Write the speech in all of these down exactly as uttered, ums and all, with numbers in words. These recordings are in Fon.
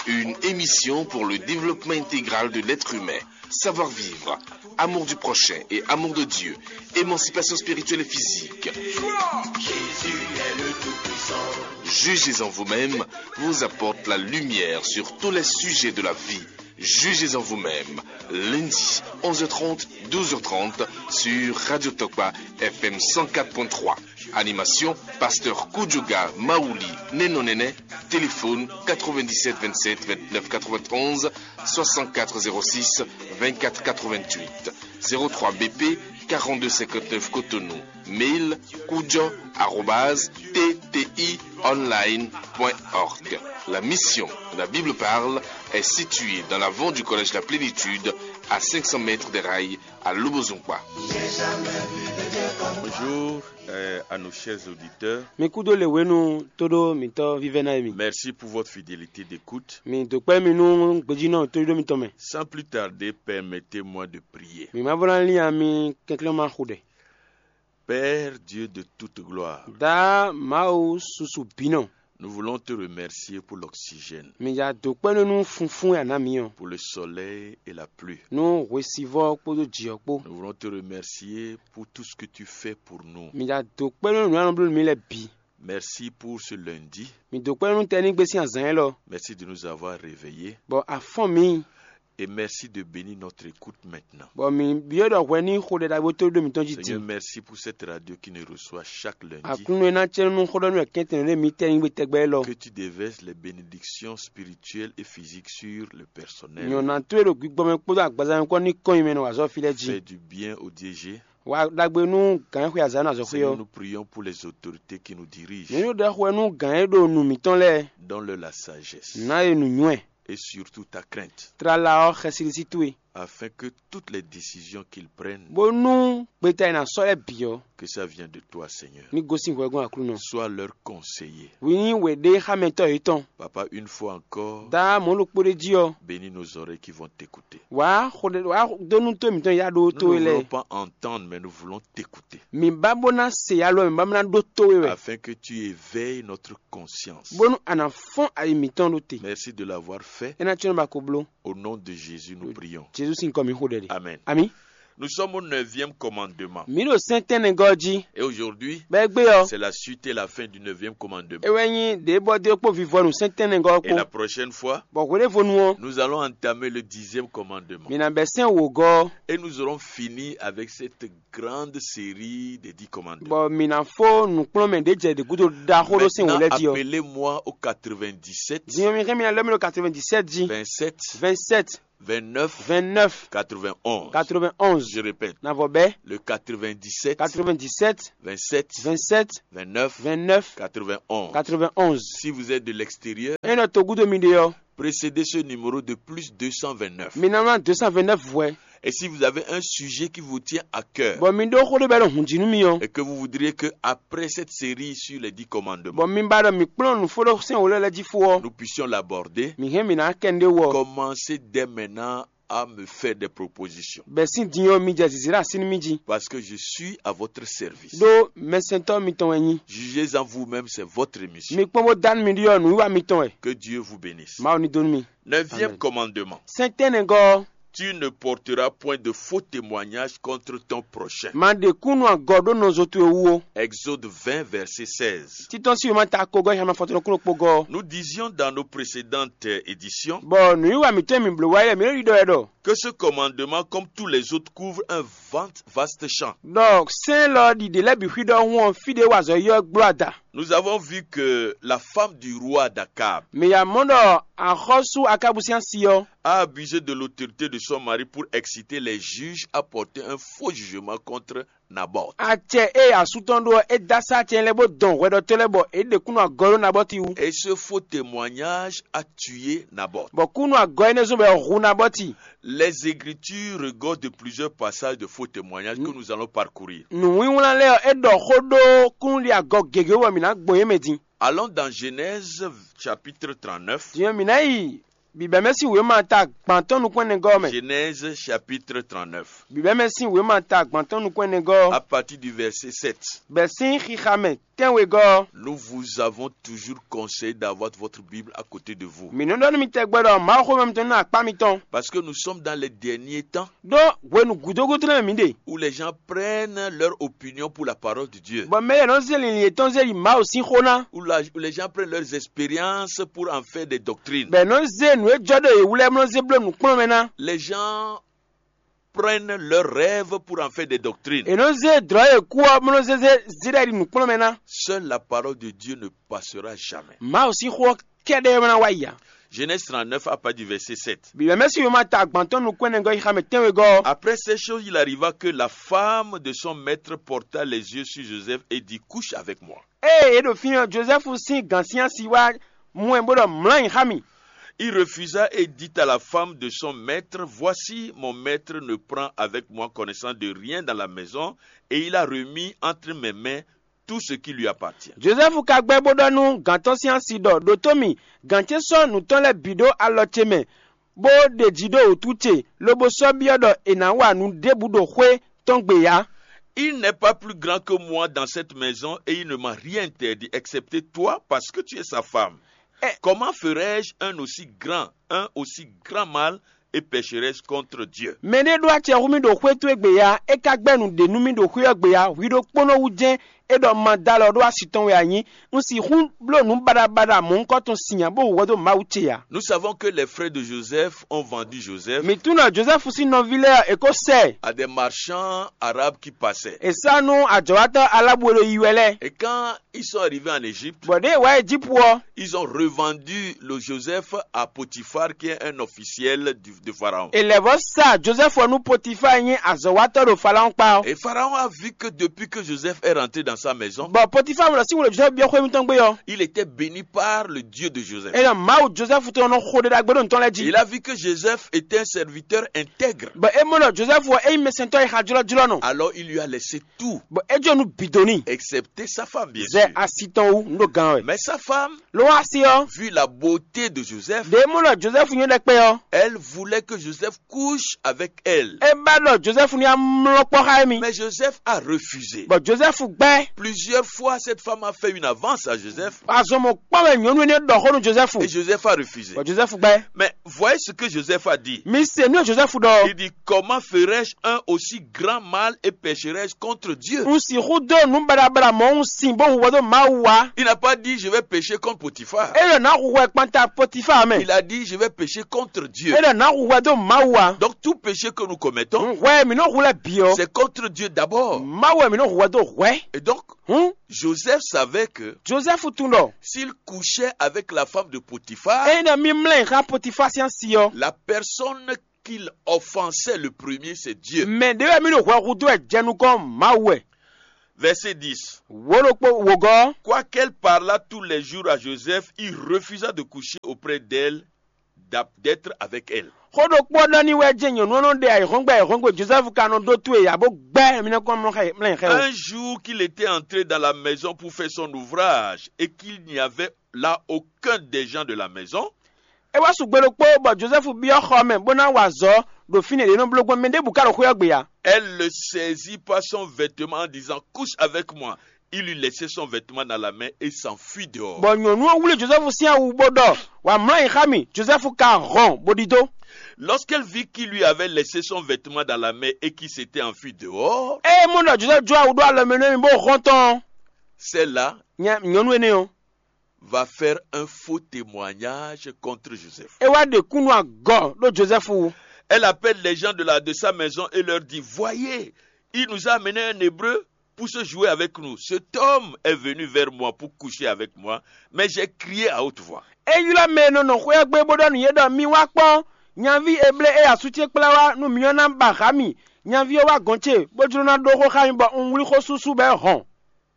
Une émission pour le développement intégral de l'être humain. Savoir-vivre, amour du prochain et amour de Dieu, émancipation spirituelle et physique. Jugez en vous-même vous apporte la lumière sur tous les sujets de la vie. Jugez en vous-même. Lundi, onze heures trente, douze heures trente, sur Radio Tokpa F M cent quatre point trois. Animation, pasteur Kudjoga Maouli Nenonene. Téléphone quatre-vingt-dix-sept vingt-sept vingt-neuf quatre-vingt-onze, soixante-quatre zéro six vingt-quatre quatre-vingt-huit, zéro trois B P quarante-deux cinquante-neuf Cotonou. Mail kudjo arobase T T I online point org. La mission, la Bible parle, est située dans l'avant du collège La Plénitude, à cinq cents mètres des rails, à Lobozungba. Bonjour, euh, à nos chers auditeurs. Mi kúdó le wenu todo mitɔ vivɛna mi. Merci pour votre fidélité d'écoute. Mi dokpɛ mi nu gbejinɔ todo mitɔ mɛ. Sans plus tarder, permettez-moi de prier. Mi ma vɔla liya mi kɛnklɛn ma xo ɖɛ. Père Dieu de toute gloire, Da Mawu susu binɔ. Nous voulons te remercier pour l'oxygène, Mi ya dokpɛ nu nu funfun ya na mi ɔ. Pour le soleil et la pluie. Nu hwesivɔ kpodo jiyɔ kpo. Nous voulons te remercier pour tout ce que tu fais pour nous. Mi ya dokpɛ nu nu anɔ blu mi lɛ bi. Merci pour ce lundi. Mi dokpɛ nu tɛ ni gbe sin azan yɛ lɔ. Merci de nous avoir réveillés. Bɔ afɔn mi. Et merci de bénir notre écoute maintenant. Bɔ mi biɔ dɔ hwɛ ni xo ɖe ɖagbe to ɖo mitɔn ji Seigneur, din. Merci pour cette radio qui nous reçoit chaque lundi. Aklúnɔ e ná cɛ nu xó ɖɔ nú kɛntɛn ɖe mi tɛ nyigbe tɛgbɛ lɔ. Que tu déverses les bénédictions spirituelles et physiques sur le personnel. Nyɔna to e ɖo gbigbɔ mɛ kpódó agbaza mɛ kpɔ́ ní kɔn nyi mɛ nɔ azɔ fi lɛ ji. Fais du bien au D G. Wa ɖagbe nú gǎn xwe azǎ nɔ azɔ xwe Seigneur, ɔ. Nous prions pour les autorités qui nous dirigent. Nyɔnu ɖe xwe nú gǎn e ɖo nu mitɔn lɛ. Donne-leur la sagesse. Ná e nu nywɛ. Et surtout ta crainte. Tlala ɔ xɛsiɖisí towe. Afin que toutes les décisions qu'ils prennent, Bónú gbeta e ná sɔ́ lɛ́ɛ bǐ ɔ́, que ça vienne de toi, Seigneur. Ní gosín hwɛgɔ́n Aklúnɔ. Sois leur conseiller. Wǐ nyí wěɖéxámɛtɔ́ yětɔn. Papa, une fois encore, Dá mɔ̌ ɖokpó ɖé jí ɔ́, bénis nos oreilles qui vont t'écouter. Wǎ xo ɖe wǎ dó nú tó mǐtɔn ya ɖó Nous tó ne é lɛ́ɛ. Voulons pas entendre, mais nous voulons t'écouter. Mǐ ba bó ná se ya lɔ mǐ ba bó ná ɖó tó é wɛ. Afin que tu éveilles notre conscience. Bónú a nǎ fɔ́n ayi mǐtɔn ɖó te. Merci de l'avoir fait. É ná cyɔ́n ba ko bló. Au nom de Jésus, nous prions. Jezu sín kɔ mǐ xo ɖɛ ɖe. Amen. Ami. Nous sommes au neuvième commandement. Mǐ ɖo sɛ́ntɛ́nnɛgɔ́ jí. Et aujourd'hui, Bɔ égbé ɔ́, c'est la suite et la fin du neuvième commandement. É wɛ nyí ɖě bɔ dé kpó vivɔnu sɛ́ntɛ́nnɛgɔ́ ɔ́ Et la kpó. Prochaine fois, Bɔ hweɖévonu ɔ́, nous allons entamer le dixième commandement. Mǐ ná bɛ́ sɛ́n wǒgɔ́. Et nous aurons fini avec cette grande série des dix commandements. Bɔ mǐ ná fó nǔkplɔ́nmɛ ɖě jɛ ɖě gúdo ɖaxó ɖó sɛ́n wǒ Maintenant, lɛ́ɛ jí ɔ́. Appelez-moi au quatre-vingt-dix-sept, Din ɔ́, mi xɛ́n mi ná lɛ́ mi ɖo quatre-vingt-dix-sept jí. Vingt-sept, vingt-neuf, vingt-neuf, quatre-vingt-onze. Quatre-vingt-onze. Je répète, Na vɔ bɛ́. Le quatre-vingt-dix-sept, Quatre-vingt-dix-sept, vingt-sept, vingt-sept, vingt-neuf, vingt-neuf, quatre-vingt-onze. Quatre-vingt-onze. Si vous êtes de l'extérieur, Ényí nɔ togúdo mi ɖe ɔ́, Précédez ce numéro de plus deux cent vingt-neuf. Mi ná wlán deux cent vingt-neuf vwɛ. Et si vous avez un sujet qui vous tient à cœur, Bɔ mi ɖó xó ɖé bɔ é ɖo hǔn jí nú mi ɔ́. Et que vous voudriez que, après cette série sur les dix commandements, Bɔ mi ba ɖɔ mi kplɔ́n nǔ fó ɖó sɛ́n wǒ lɛ́ɛ lɛ́ɛ jí fó ɔ́. Nous puissions l'aborder, Mi hɛn mi ná kɛ nɖé wɔ. Commencez dès maintenant à me faire des propositions. Bɛ́ sín din ɔ́ mi jɛ zǐzí ɖo así nú mì jí. Parce que je suis à votre service. Ɖó mɛsɛntɔ́ mitɔn wɛ nyí. Jugez-en vous-même, c'est votre émission. Mi kpɔ́n bó dá nú mi ɖiɖɔ nǔwiwa mitɔn wɛ. Que Dieu vous bénisse. Mawu ní dó nú mi. Neuvième Amen. Commandement. Sɛ́ntɛ́nɛgɔ́. Tu ne porteras point de faux témoignages contre ton prochain. Ma ɖe kúnnu agɔ ɖó nɔzo towe wú ó. Exode vingt, verset seize. Títɔ́n sí wěma ta kogɔ́ xyama fɔtɔnɔ kúnnu kpogɔ́. Nous disions dans nos précédentes éditions Bɔ nǔwiwa mǐtɔn e mǐ bló wá é lɛ́ɛ mǐ ɖo ɖiɖɔ wɛ ɖɔ. Que ce commandement, comme tous les autres, couvre un vant-, vaste champ. Ɖɔ sɛ́n lɔ ɖiɖe lɛ́ɛ bǐ xwí ɖɔhun ɔ́ fí ɖě wa azɔ̌ yi ɔ́ gbló ada. Nous avons vu que la femme du roi d'Akab Mǐ ya mɔ ɖɔ axɔ́sú Akábu sín asi ɔ́. A abusé de l'autorité de son mari pour exciter les juges à porter un faux jugement contre Naboth. Acɛ e asú tɔn ɖó ɔ́, é dó asá acɛ lɛ́ɛ bó dɔn hwɛɖɔtɔ́ lɛ́ɛ bɔ é ɖe kúnnu agɔ ɖó Nabɔti wú. Et ce faux témoignage a tué Naboth. Bɔ kúnnu agɔ énɛ́ zɔ́n bɔ è hu Nabɔti. Les Écritures regorgent de plusieurs passages de faux témoignages que nous allons parcourir. Nǔwínwlán lɛ́ɛ ɔ́, é ɖɔ xó ɖó kúnnuɖi agɔ gěgé bɔ mǐ ná gbɔn yě mɛ din. Allons dans Genèse chapitre trente-neuf. Din ɔ́, mǐ ná yi Bǐbɛ́mɛ sín wěma ta gbantɔ́ nukúnnɛgɔ́ ɔ́ mɛ. Genèse chapitre trente-neuf. Bǐbɛ́mɛ sín wěma ta gbantɔ́ nukúnnɛgɔ́ ɔ́. À partir du verset sept. Bɛ́ sín xixa mɛ Tɛ́nwegɔ́ ɔ́, Nous vous avons toujours conseillé d'avoir votre Bible à côté de vous. Mǐ nɔ ɖɔ nú mi tɛgbɛ ɖɔ Mawuxówéma mitɔn ní nɔ akpá mitɔn. Parce que nous sommes dans les derniers temps Ɖó hwenu gǔdo gúdo lɛ́ɛ mɛ mǐ ɖe, où les gens prennent leur opinion pour la parole de Dieu. Bɔ mɛ lɛ́ɛ nɔ zé linlin yětɔn zé yi Mawu sín xó ná. Où, la- où les gens prennent leurs expériences pour en faire des doctrines. Bɔ è nɔ zé nǔ e jɔ ɖo yě wú lɛ́ɛ bó nɔ zé bló nǔkplɔ́nmɛ ná. Les gens prennent leurs rêves pour en faire des doctrines. È nɔ zé dlɔ̌ e kú ɔ́ bó nɔ zé zé zé ɖɔ yi ɖi nǔkplɔ́nmɛ ná. Seule la parole de Dieu ne passera jamais. Mawu sín xó ɔ́ kɛ́ɖɛ́ wɛ ná wá yi ǎ. Genèse trente-neuf à partir du verset sept. Bǐbɛ́mɛ́si wěma ta gbantɔn nukún ɛnɛ gɔ́ yi xá mɛ tɛ́nwegɔ́ ɔ́. Après ces choses, il arriva que la femme de son maître porta les yeux sur Joseph et dit, couche avec moi. Ée é ɖo fínɛ́ ɔ́, Jozɛ́fu sín gǎnsyánsi wá mɔ ɛ bó ɖɔ mlɔ́ ayǐ xá mì. Il refusa et dit à la femme de son maître, voici, mon maître ne prend avec moi connaissance de rien dans la maison, et il a remis entre mes mains tout ce qui lui appartient. Jozɛ́fu ka gbɛ́ bó ɖɔ nú gǎn tɔn sín asi ɖɔ ɖǒtó mì, gǎn ce sɔ́ nǔ tɔn lɛ́ɛ bǐ ɖó alɔ ce mɛ, bó ɖeji ɖó wǔtu ce, lobo sɔ́ byɔ́ ɖɔ è nǎ wa nǔ ɖěbǔ ɖo xwé tɔn gbe ǎ. Il n'est pas plus grand que moi dans cette maison et il ne m'a rien interdit excepté toi parce que tu es sa femme. Comment ferais-je un aussi grand, un aussi grand mal et pécherais-je contre Dieu? Mɛ ɖé ɖó acɛ hú mì ɖo xwé towe gbe ya, é ka gbɛ́ nǔ ɖě nú mì ɖo xwé ɔ́ gbe ya, hwi ɖokpónɔ wú jɛ́n é ɖɔ ma dó alɔ ɖó asi tɔn wɛ a nyí. Un sixú bló nǔ baɖabaɖa mɔ̌hunkɔtɔn sin ǎ bó hu hwɛ dó Mawu ce ǎ. Nous savons que les frères de Joseph ont vendu Joseph Mi tunwun ɖɔ Jozɛ́fu sín nɔví lɛ́ɛ ɔ́, è ko sɛ ɛ. À des marchands arabes qui passaient. È sá nú ajɔ̌watɔ́ Alábu e ɖo yi wɛ lɛ́ɛ. Et quand ils sont arrivés en Égypte, Bɔ ɖěe è wá Ejípu ɔ́, ils ont revendu le Joseph à Potiphar, qui est un officiel du- de Pharaon. È lɛ̌ vɔ́ sa Jozɛ́fu ɔ́ nú Potifáa e nyí azɔ̌watɔ́ ɖo Falawɔ́n kpá ɔ́. Et Pharaon a vu que depuis que Joseph est rentré dans sa maison, Bɔ Potifáa mɔ ɖɔ sín wǔ ɖo Jozɛ́fu byɔ́ xwé mitɔn gbé ɔ́, il était béni par le Dieu de Joseph. É ɖɔ Mawu Jozɛ́fu tɔn nɔ xo ɖé ɖagbe ɖo nǔ tɔn lɛ́ɛ jí. Il a vu que Joseph était un serviteur intègre. Bɔ é mɔ ɖɔ Jozɛ́fu ɔ́ é nyí mɛsɛntɔ́ e xa jlɔ́jlɔ́ nɔ. Alors il lui a laissé tout, Bɔ é jɔ nú bǐ dó n'i. Excepté sa femme, bien sûr. Zɛ asi tɔn wú, un ɖo gán wɛ. Mais sa femme, Ló wá sí ɔ́, vu la beauté de Joseph, ɖě é mɔ ɖɔ Jozɛ́fu nyɔ́ ɖɛkpɛ ɔ́, elle voulait que Joseph couche avec elle. É ba ɖɔ Jozɛ́fu ní amlɔ kpɔ́ xá émí. Mais Joseph a refusé. Bɔ Jozɛ́fu gbɛ́. Plusieurs fois, cette femme a fait une avance à Joseph. Azɔn mɔ̌kpán wɛ nyɔ̌nu énɛ́ ɖɔ xó nú Jozɛ́fu. Et Joseph a refusé. Bɔ Jozɛ́fu gbɛ́. Mais voyez ce que Joseph a dit. Mi se nú Jozɛ́fu ɖɔ. Il dit, comment ferais-je un aussi grand mal et pécherais-je contre Dieu? Un sixu dó nǔ baɖabaɖa mɔ̌ un sin bó hu hwɛ dó Mawu wá. Il n'a pas dit, je vais pécher contre Potiphar. É ɖɔ nǎ hu hwɛ kpanta Potifáa mɛ. Il a dit, je vais pécher contre Dieu. É ɖɔ nǎ hu hwɛ dó Mawu wá. Donc tout péché que nous commettons, Hǔn hwɛ e mǐ nɔ hu lɛ́ bǐ ɔ́, c'est contre Dieu d'abord. Mawu wɛ mǐ nɔ hu hwɛ dó hwɛ. Et donc, Hǔn Joseph savait que Jozɛ́fu tunwun ɖɔ s'il couchait avec la femme de Potiphar, ényí ɖɔ mì mlɛ́ xá Potifáa sín asi ɔ́, la personne qu'il offensait le premier, c'est Dieu. Mɛ ɖě wɛ mì ɖo hwɛ hu dó wɛ jɛ nukɔn Mawu wɛ. Verset dix. Wǒ ɖokpó wǒgɔ́. Quoiqu'elle parlât tous les jours à Joseph, il refusa de coucher auprès d'elle, d'être avec elle. Xó ɖokpó ɔ́ ɖɔ n'i wɛ jɛ́n nyɔ̌nu ɔ́ nɔ ɖe ayǐhɔ́ngbe ayǐhɔ́ngbe Jozɛ́fu ka nɔ ɖó towe ǎ bó gbɛ́ mǐ nɔ kɔn mlɔ́ xɛ mlɛ́ xɛ o. Un jour qu'il était entré dans la maison pour faire son ouvrage et qu'il n'y avait là aucun des gens de la maison, É wá su gbe ɖokpó bɔ Jozɛ́fu byɔ́ xɔ mɛ bó ná wa azɔ̌ ɖo fínɛ́ ɖě nɔ bló gbɔn mɛ ɖěbǔ ka ɖo xwé ɔ́ gbe ǎ. Elle le saisit par son vêtement en disant, couche avec moi. Il lui laissait son vêtement dans la main et s'enfuit dehors. Bɔ nyɔ̌nu ɔ́ wlí Jozɛ́fu sín awu bó ɖɔ: Wǎ mlɔ́ ayǐ xá mì. Jozɛ́fu ka hɔn bó ɖidó. Lorsqu'elle vit qu'il lui avait laissé son vêtement dans la main et qu'il s'était enfui dehors, Ée é mɔ ɖɔ Jozɛ́fu jó awu ɖó alɔ mɛ nú émí bó hɔn tɔn ɔ́, celle-là nya- nyɔ̌nu énɛ́ ɔ́, va faire un faux témoignage contre Joseph. É wá ɖe kúnnu agɔ ɖó Jozɛ́fu wú. Elle appelle les gens de, la, de sa maison et leur dit, voyez, il nous a amené un Hébreu pour se jouer avec nous. Cet homme est venu vers moi pour coucher avec moi, mais j'ai crié à haute voix. É ylɔ́ mɛ e nɔ nɔ xwé ɔ́ gbé bó ɖɔ nú yě ɖɔ: Mi wá kpɔ́n, nyaví Eblée e asú ce kplá wá nú mi ɔ́ ná ba hǎ mì. Nyaví ɔ́ wá gɔ̌n ce, bó jló ná ɖó xó xá mi, bɔ un wlí xó súsú bɔ é hɔn.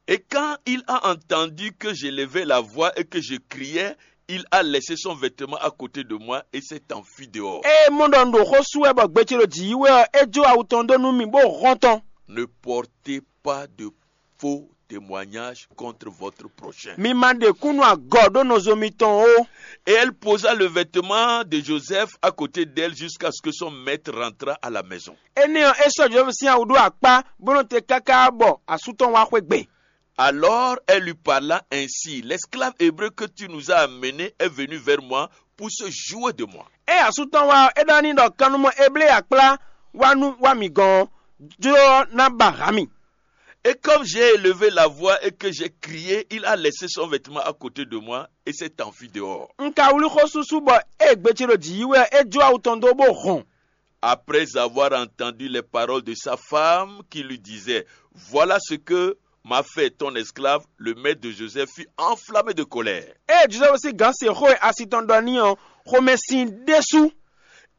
Et quand il a entendu que j'élevais la voix et que je criais, il a laissé son vêtement à côté de moi et s'est enfui dehors. Ée é mɔ ɖɔ un ɖo xó sú wɛ bɔ gbe ce ɖo jǐ yi wɛ ɔ́, é jó awu tɔn dó nú mì, bó hɔn tɔn. Ne portez pas de faux témoignage contre votre prochain. Mi ma ɖe kúnnu agɔ ɖó nɔzo mitɔn ó. Et elle posa le vêtement de Joseph à côté d'elle jusqu'à ce que son maître rentra à la maison. Énɛ́ ɔ́, é sɔ́ Jozɛ́fu sín awu ɖó akpá, bó nɔ́ te káká bɔ asú tɔn wá xwé gbe. Alors elle lui parla ainsi: L'esclave hébreu que tu nous as amené est venu vers moi pour se jouer de moi. Ée asú tɔn wá ɔ́, é ɖɔ n'i ɖɔ: Kannumɔ Eblée e a kplá wá nú wá mǐ gɔ́n ɔ́, jló ɔ́ ná ba ha mì. Et comme j'ai élevé la voix et que j'ai crié, il a laissé son vêtement à côté de moi et s'est enfui dehors. Un ka wlí xó súsú bɔ ée gbe ce ɖo jǐ yi wɛ ɔ́, é jó awu tɔn dó bó hɔn. Après avoir entendu les paroles de sa femme qui lui disait: Voilà ce que m'a fait ton esclave, le maître de Joseph fut enflammé de colère. Ée Jozɛ́fu sín gǎn se xó e asi tɔn ɖɔ n'i ɔ́, xomɛ sin ɖésú.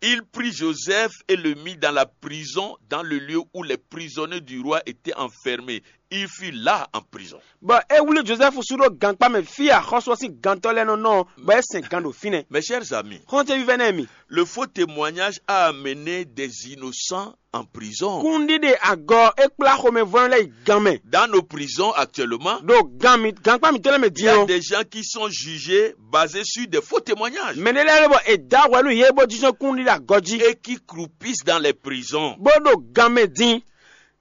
Il prit Joseph et le mit dans la prison, dans le lieu où les prisonniers du roi étaient enfermés. Il fut là en prison. Bɔ é wlí Jozɛ́fu sú ɖó gankpá mɛ fí e axɔ́sú ɔ́ sín gantɔ́ lɛ́ɛ nɔ nɔ ɔ́, bɔ é sɛn gan ɖo fínɛ́. Mes chers amis, Xɔ́ntɛn vívɛ́ nɛ́ mi, le faux témoignage a amené des innocents en prison. Kúnɖíɖe agɔ é kplá xomɛvɔ́nɔ lɛ́ɛ yi gan mɛ. Dans nos prisons actuellement, Ɖo gan mi gankpá mǐtɔn lɛ́ɛ mɛ il y din a ɔ́, des gens qui sont jugés basés sur des faux témoignages mɛ ɖé lɛ́ɛ ɖe bɔ è dǎ hwɛ nú yě bó jínjɔ́n kúnɖíɖe agɔ jí, et qui croupissent dans les prisons. Bó ɖo gan mɛ din.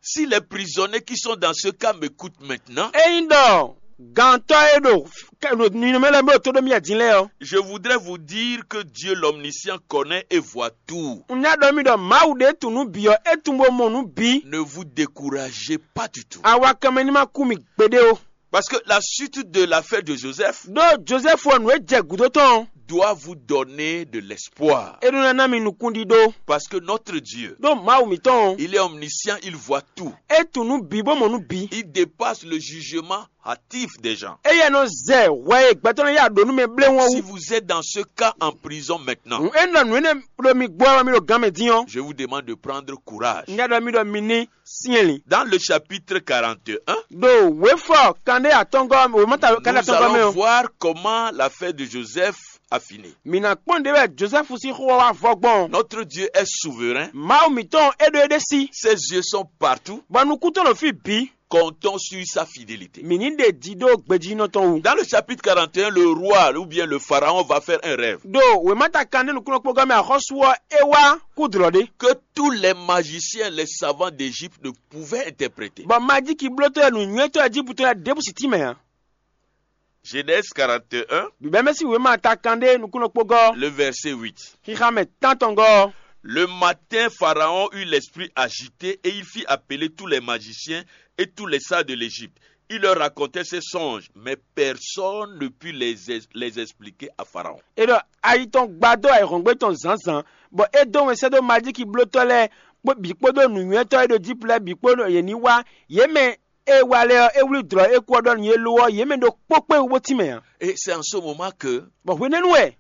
Si les prisonniers qui sont dans ce cas m'écoutent maintenant, Ényí ɖɔ gantɔ́ e ɖo ninɔmɛ lɛ́ɛ mɛ ɖo tó ɖó mì din lɛ́ɛ ɔ́, je voudrais vous dire que Dieu l'omniscient connaît et voit tout. Un nya ɖɔ mi ɖɔ Mawu ɖe tunwun nǔ bǐ ɔ́, é tunwun bó mɔ nǔ bǐ. Ne vous découragez pas du tout. Awakanmɛ ní ma kú mi gbeɖé ó. Parce que la suite de l'affaire de Joseph Ɖó Jozɛ́fu ɔ́, nǔ e jɛ gǔdo tɔn ɔ́, doit vous donner de l'espoir. É ɖó ná ná mi nukúnɖíɖó. Parce que notre Dieu, Ɖó Mawu mǐtɔn ɔ́, Il est omniscient, il voit tout. É tunwun nǔ bǐ bó mɔ nǔ bǐ. Il dépasse le jugement hâtif des gens. Éyɛ́ nɔ zɛ hwɛ e gbɛtɔ́ lɛ́ɛ ya ɖǒ nú mɛ bléwún ɔ́ Si wú. Vous Êtes dans ce cas en prison maintenant, Hǔn é nɔ nǔ énɛ́ ɖo mi gbɔ wɛ mi ɖo gan mɛ din ɔ́, je vous demande de prendre courage. Un nya ɖɔ mi ɖɔ mi ní syɛ́nlǐn. Dans le chapitre quarante et un, Ɖo wěfɔ kanɖé atɔngɔ́ wěmata kanɖé nous atɔngɔ́ mɛ allons ɔ́, Voir comment l'affaire de Joseph a fini. Mǐ ná kpɔ́n ɖě wɛ Jozɛ́fu sín xó ɔ́ wá vɔ gbɔn. Notre Dieu est souverain. Mawu mǐtɔn e ɖo éɖée sí. Ses yeux sont partout. Bɔ nukún tɔn ɖo fí bǐ. Comptons sur sa fidélité. Mǐ ní ɖe ji ɖó gbejínɔ tɔn wú. Dans le chapitre quarante et un, le roi ou bien le pharaon va faire un rêve. Ɖo wěmata kanɖé nukúnnɔkpɔ́gɔ́ mɛ axɔ́sú ɔ́, é wá kú dlɔ̌ ɖé. Que tous les magiciens, les savants d'Égypte ne pouvaient interpréter. Bɔ majiki blótɔ́ e nǔnywɛ́tɔ́ Ejíputɔ́ lɛ́ɛ ɖěbǔ sí tínmɛ ǎ. Genèse quarante et un, Bǐbɛ́mɛ́ sín wěma ta kanɖé nukúnnɔkpɔ́gɔ́, le verset huit. Xixa mɛ tántɔngɔ́ ɔ́. Le matin, Pharaon eut l'esprit agité et il fit appeler tous les magiciens et tous les sages de l'Égypte. Il leur racontait ses songes, mais personne ne put les, les expliquer à Pharaon. É ɖɔ ayi tɔn gbadó ayǐhɔ́ngbe tɔn zǎnzǎn, bɔ é dó wɛn sɛ́ dó majiki blótɔ́ lɛ́ɛ kpó bǐ kpódó nǔnywɛ́tɔ́ e ɖo Ejípti lɛ́ɛ bǐ kpó ɖo yě ní wá. Yě mɛ e wa lɛ ɔ́, é wlí dlɔ̌ é kú ɔ́ ɖɔ nú yě lo ɔ́, yě mɛ ɖokpó kpé wú bó tínmɛ ǎ. Et c'est en ce moment que Bɔ hwenɛ́nu wɛ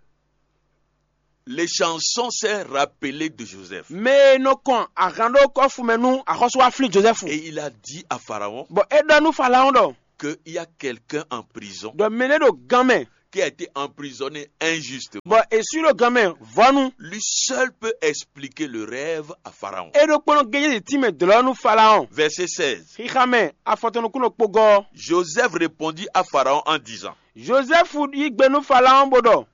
les chansons s'est rappelé de Joseph. Mɛ e nɔ kɔn ahan ɖó kɔ́fu mɛ nú axɔ́sú wá flín Jozɛ́fu. Et il a dit à Pharaon Bɔ é ɖɔ nú Falaɔ́n ɖɔ, qu'il y a quelqu'un en prison ɖɔ mɛ nɛ́ ɖo gan mɛ, qui a été emprisonné injustement. Bɔ è sú ɖo gan mɛ vɔ́nu. Lui seul peut expliquer le rêve à Pharaon. É ɖokpónɔ gényɛ́ tínmɛ dlɔ̌ nú Falaɔ́n. Verset seize. Xixa mɛ afɔtɔn nukúnnɔ kpogɔ́. Joseph répondit à Pharaon en disant, Jozɛ́fu yí gbe nú Falaɔ́n bó ɖɔ,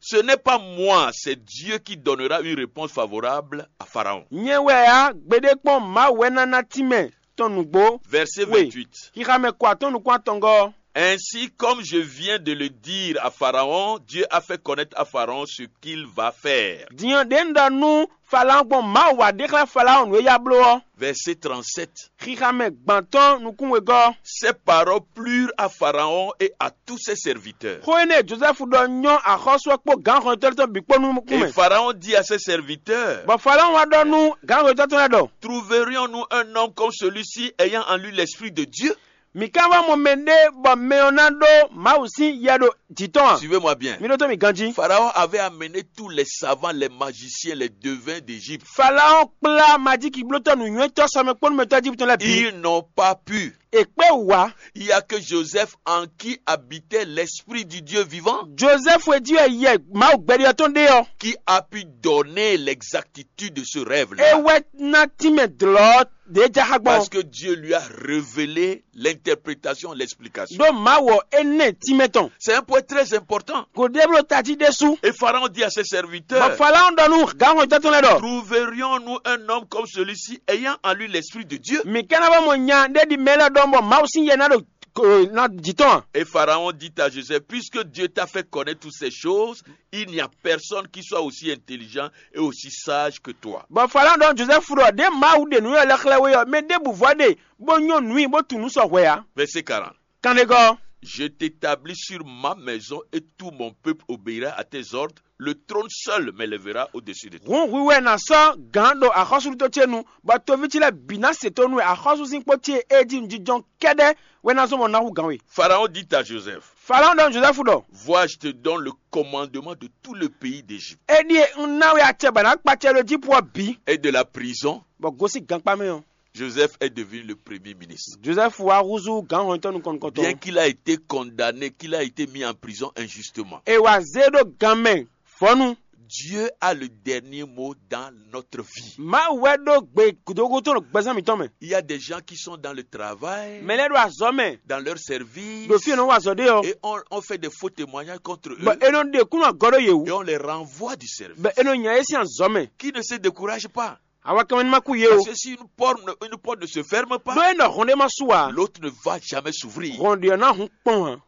Ce n'est pas moi, c'est Dieu qui donnera une réponse favorable à Pharaon. Nyɛ wɛ ǎ, gbeɖé kpɔ́n Mawu wɛ ná ná tínmɛ tɔn nǔgbó. Verset We. Vingt-huit. Xixa mɛ kɔ atɔ́n nukún atɔngɔ́. Ainsi, comme je viens de le dire à Pharaon, Dieu a fait connaître à Pharaon ce qu'il va faire. Din ɔ́, ɖě un ɖɔ nú Falaɔ́n gbɔn Mawu wá ɖe xlɛ́ Falaɔ́n nǔ e ya bló ɔ́. Verset trente-sept. Xixa mɛ gbantɔ́n nukún wegɔ́. Ces paroles plurent à Pharaon et à tous ses serviteurs. Xó énɛ́ e Jozɛ́fu ɖɔ nyɔ́ axɔ́sú ɔ́ kpó gǎnhɔntɔ́ tɔn bǐ kpó nukún Et mɛ. Pharaon dit à ses serviteurs, Bɔ Falaɔ́n wá ɖɔ nú gǎnhɔntɔ́ tɔn lɛ́ɛ ɖɔ, Trouverions-nous un homme comme celui-ci ayant en lui l'esprit de Dieu? Mǐ ka wá mɔ mɛ ɖé bɔ mɛ ɔ́ ná ɖó Mawu sín yɛ ɖo jǐ tɔn a? Suivez-moi bien. Mi ɖótó mì ganjí. Pharaon avait amené tous les savants, les magiciens, les devins d'Égypte. Falaɔ́n kplá majiki blótɔ́ nǔnywɛ́tɔ́ sɔmɛkpɔ́númɛtɔ́ Ejíptɔn lɛ́ɛ bǐ. Ils n'ont pas pu. È kpé wǔ wá. Il y a que Joseph en qui habitait l'esprit du Dieu vivant. Jozɛ́fu e jí wɛ yɛ Mawu gbɛɖe ɔ́ tɔn ɖe ɔ́. Qui a pu donner l'exactitude de ce rêve-là. É wɛ ná tínmɛ dlɔ̌ ɖě ja xá gbɔn. Parce que Dieu lui a révélé l'interprétation, l'explication. Ɖó Mawu ɔ́, é nɛ tínmɛ tɔn. C'est un point très important. Kò ɖe bló tají ɖésú. Et Pharaon dit à ses serviteurs, Bɔ Falaɔ́n ɖɔ nú gǎnhɔntɔ́ tɔn lɛ́ɛ ɖɔ, Trouverions-nous un homme comme celui-ci ayant en lui l'esprit de Dieu? Mǐ ka ná wá mɔ nya ɖé ɖi mɛ lɛ́ɛ ɖɔhun bɔ Mawu sín yɛ ná ɖo ko- ná jǐ tɔn a? Et Pharaon dit à Joseph, puisque Dieu t'a fait connaître toutes ces choses, il n'y a personne qui soit aussi intelligent et aussi sage que toi. Bɔ Falawo ɖɔ Jozɛfu ɖɔ ɖě Mawu ɖe nǔ élɔ́ xlɛ́ we ɔ́, mɛ ɖěbǔ vɔ ɖe bó nyɔ́ nǔ i bó tunwun nú sɔ hwɛ ǎ. Verset quarante. Kanɖegɔ́. Je t'établis sur ma maison et tout mon peuple obéira à tes ordres. Le trône seul m'élèvera au-dessus de toi. Hǔn hwi wɛ ná sɔ́ gǎn ɖo axɔ́súɖuto ce nu, bɔ toví ce lɛ́ɛ bǐ ná se tónú wɛ axɔ́súzinkpo ce e jí nǔjínjɔ́n kɛ́ɖɛ́ wɛ ná zɔ́n bɔ ná hú gǎn we. Pharaon dit à Joseph, Falawo ɖɔ nú Jozɛfu ɖɔ, vois, je te donne le commandement de tout le pays d'Égypte. Éɖíe un ná we acɛ bɔ è nǎ kpa acɛ ɖo Ejípu ɔ́ bǐ. Et de la prison. Bɔ gosín gankpá mɛ ɔ́, Joseph est devenu le premier ministre. Jozɛfu wá húzú gǎn hɔnyitɔ́ nukɔn nukɔntɔn. Bien qu'il a été condamné, qu'il a été mis en prison injustement. È wǎ zé ɖó gan mɛ vɔ̌nu. Dieu a le dernier mot dans notre vie. Mawu wɛ ɖó gbe gǔdógúdó ɖo gbɛzán mǐtɔn mɛ. Il y a des gens qui sont dans le travail, Mɛ lɛ́ɛ ɖo azɔ̌ mɛ, dans leur service, ɖo fí e nɔ wa azɔ̌ ɖe ɔ́, Et on, on fait des faux témoignages contre eux. Bɔ è nɔ ɖe kúnnu agɔ ɖó yě wú, Et on les renvoie du service. Bɔ è nɔ nya yě sín azɔ̌ mɛ. Qui ne se décourage pas. Awa kɛmɛ ní ma kú yě o. Parce que si une porte, ne- une porte ne se ferme pas, Ɖó é nɔ hɔn ɖé ma sú ǎ, L'autre ne va jamais s'ouvrir. Hɔn ɖě ɔ́ ná hun kpɔn ǎ.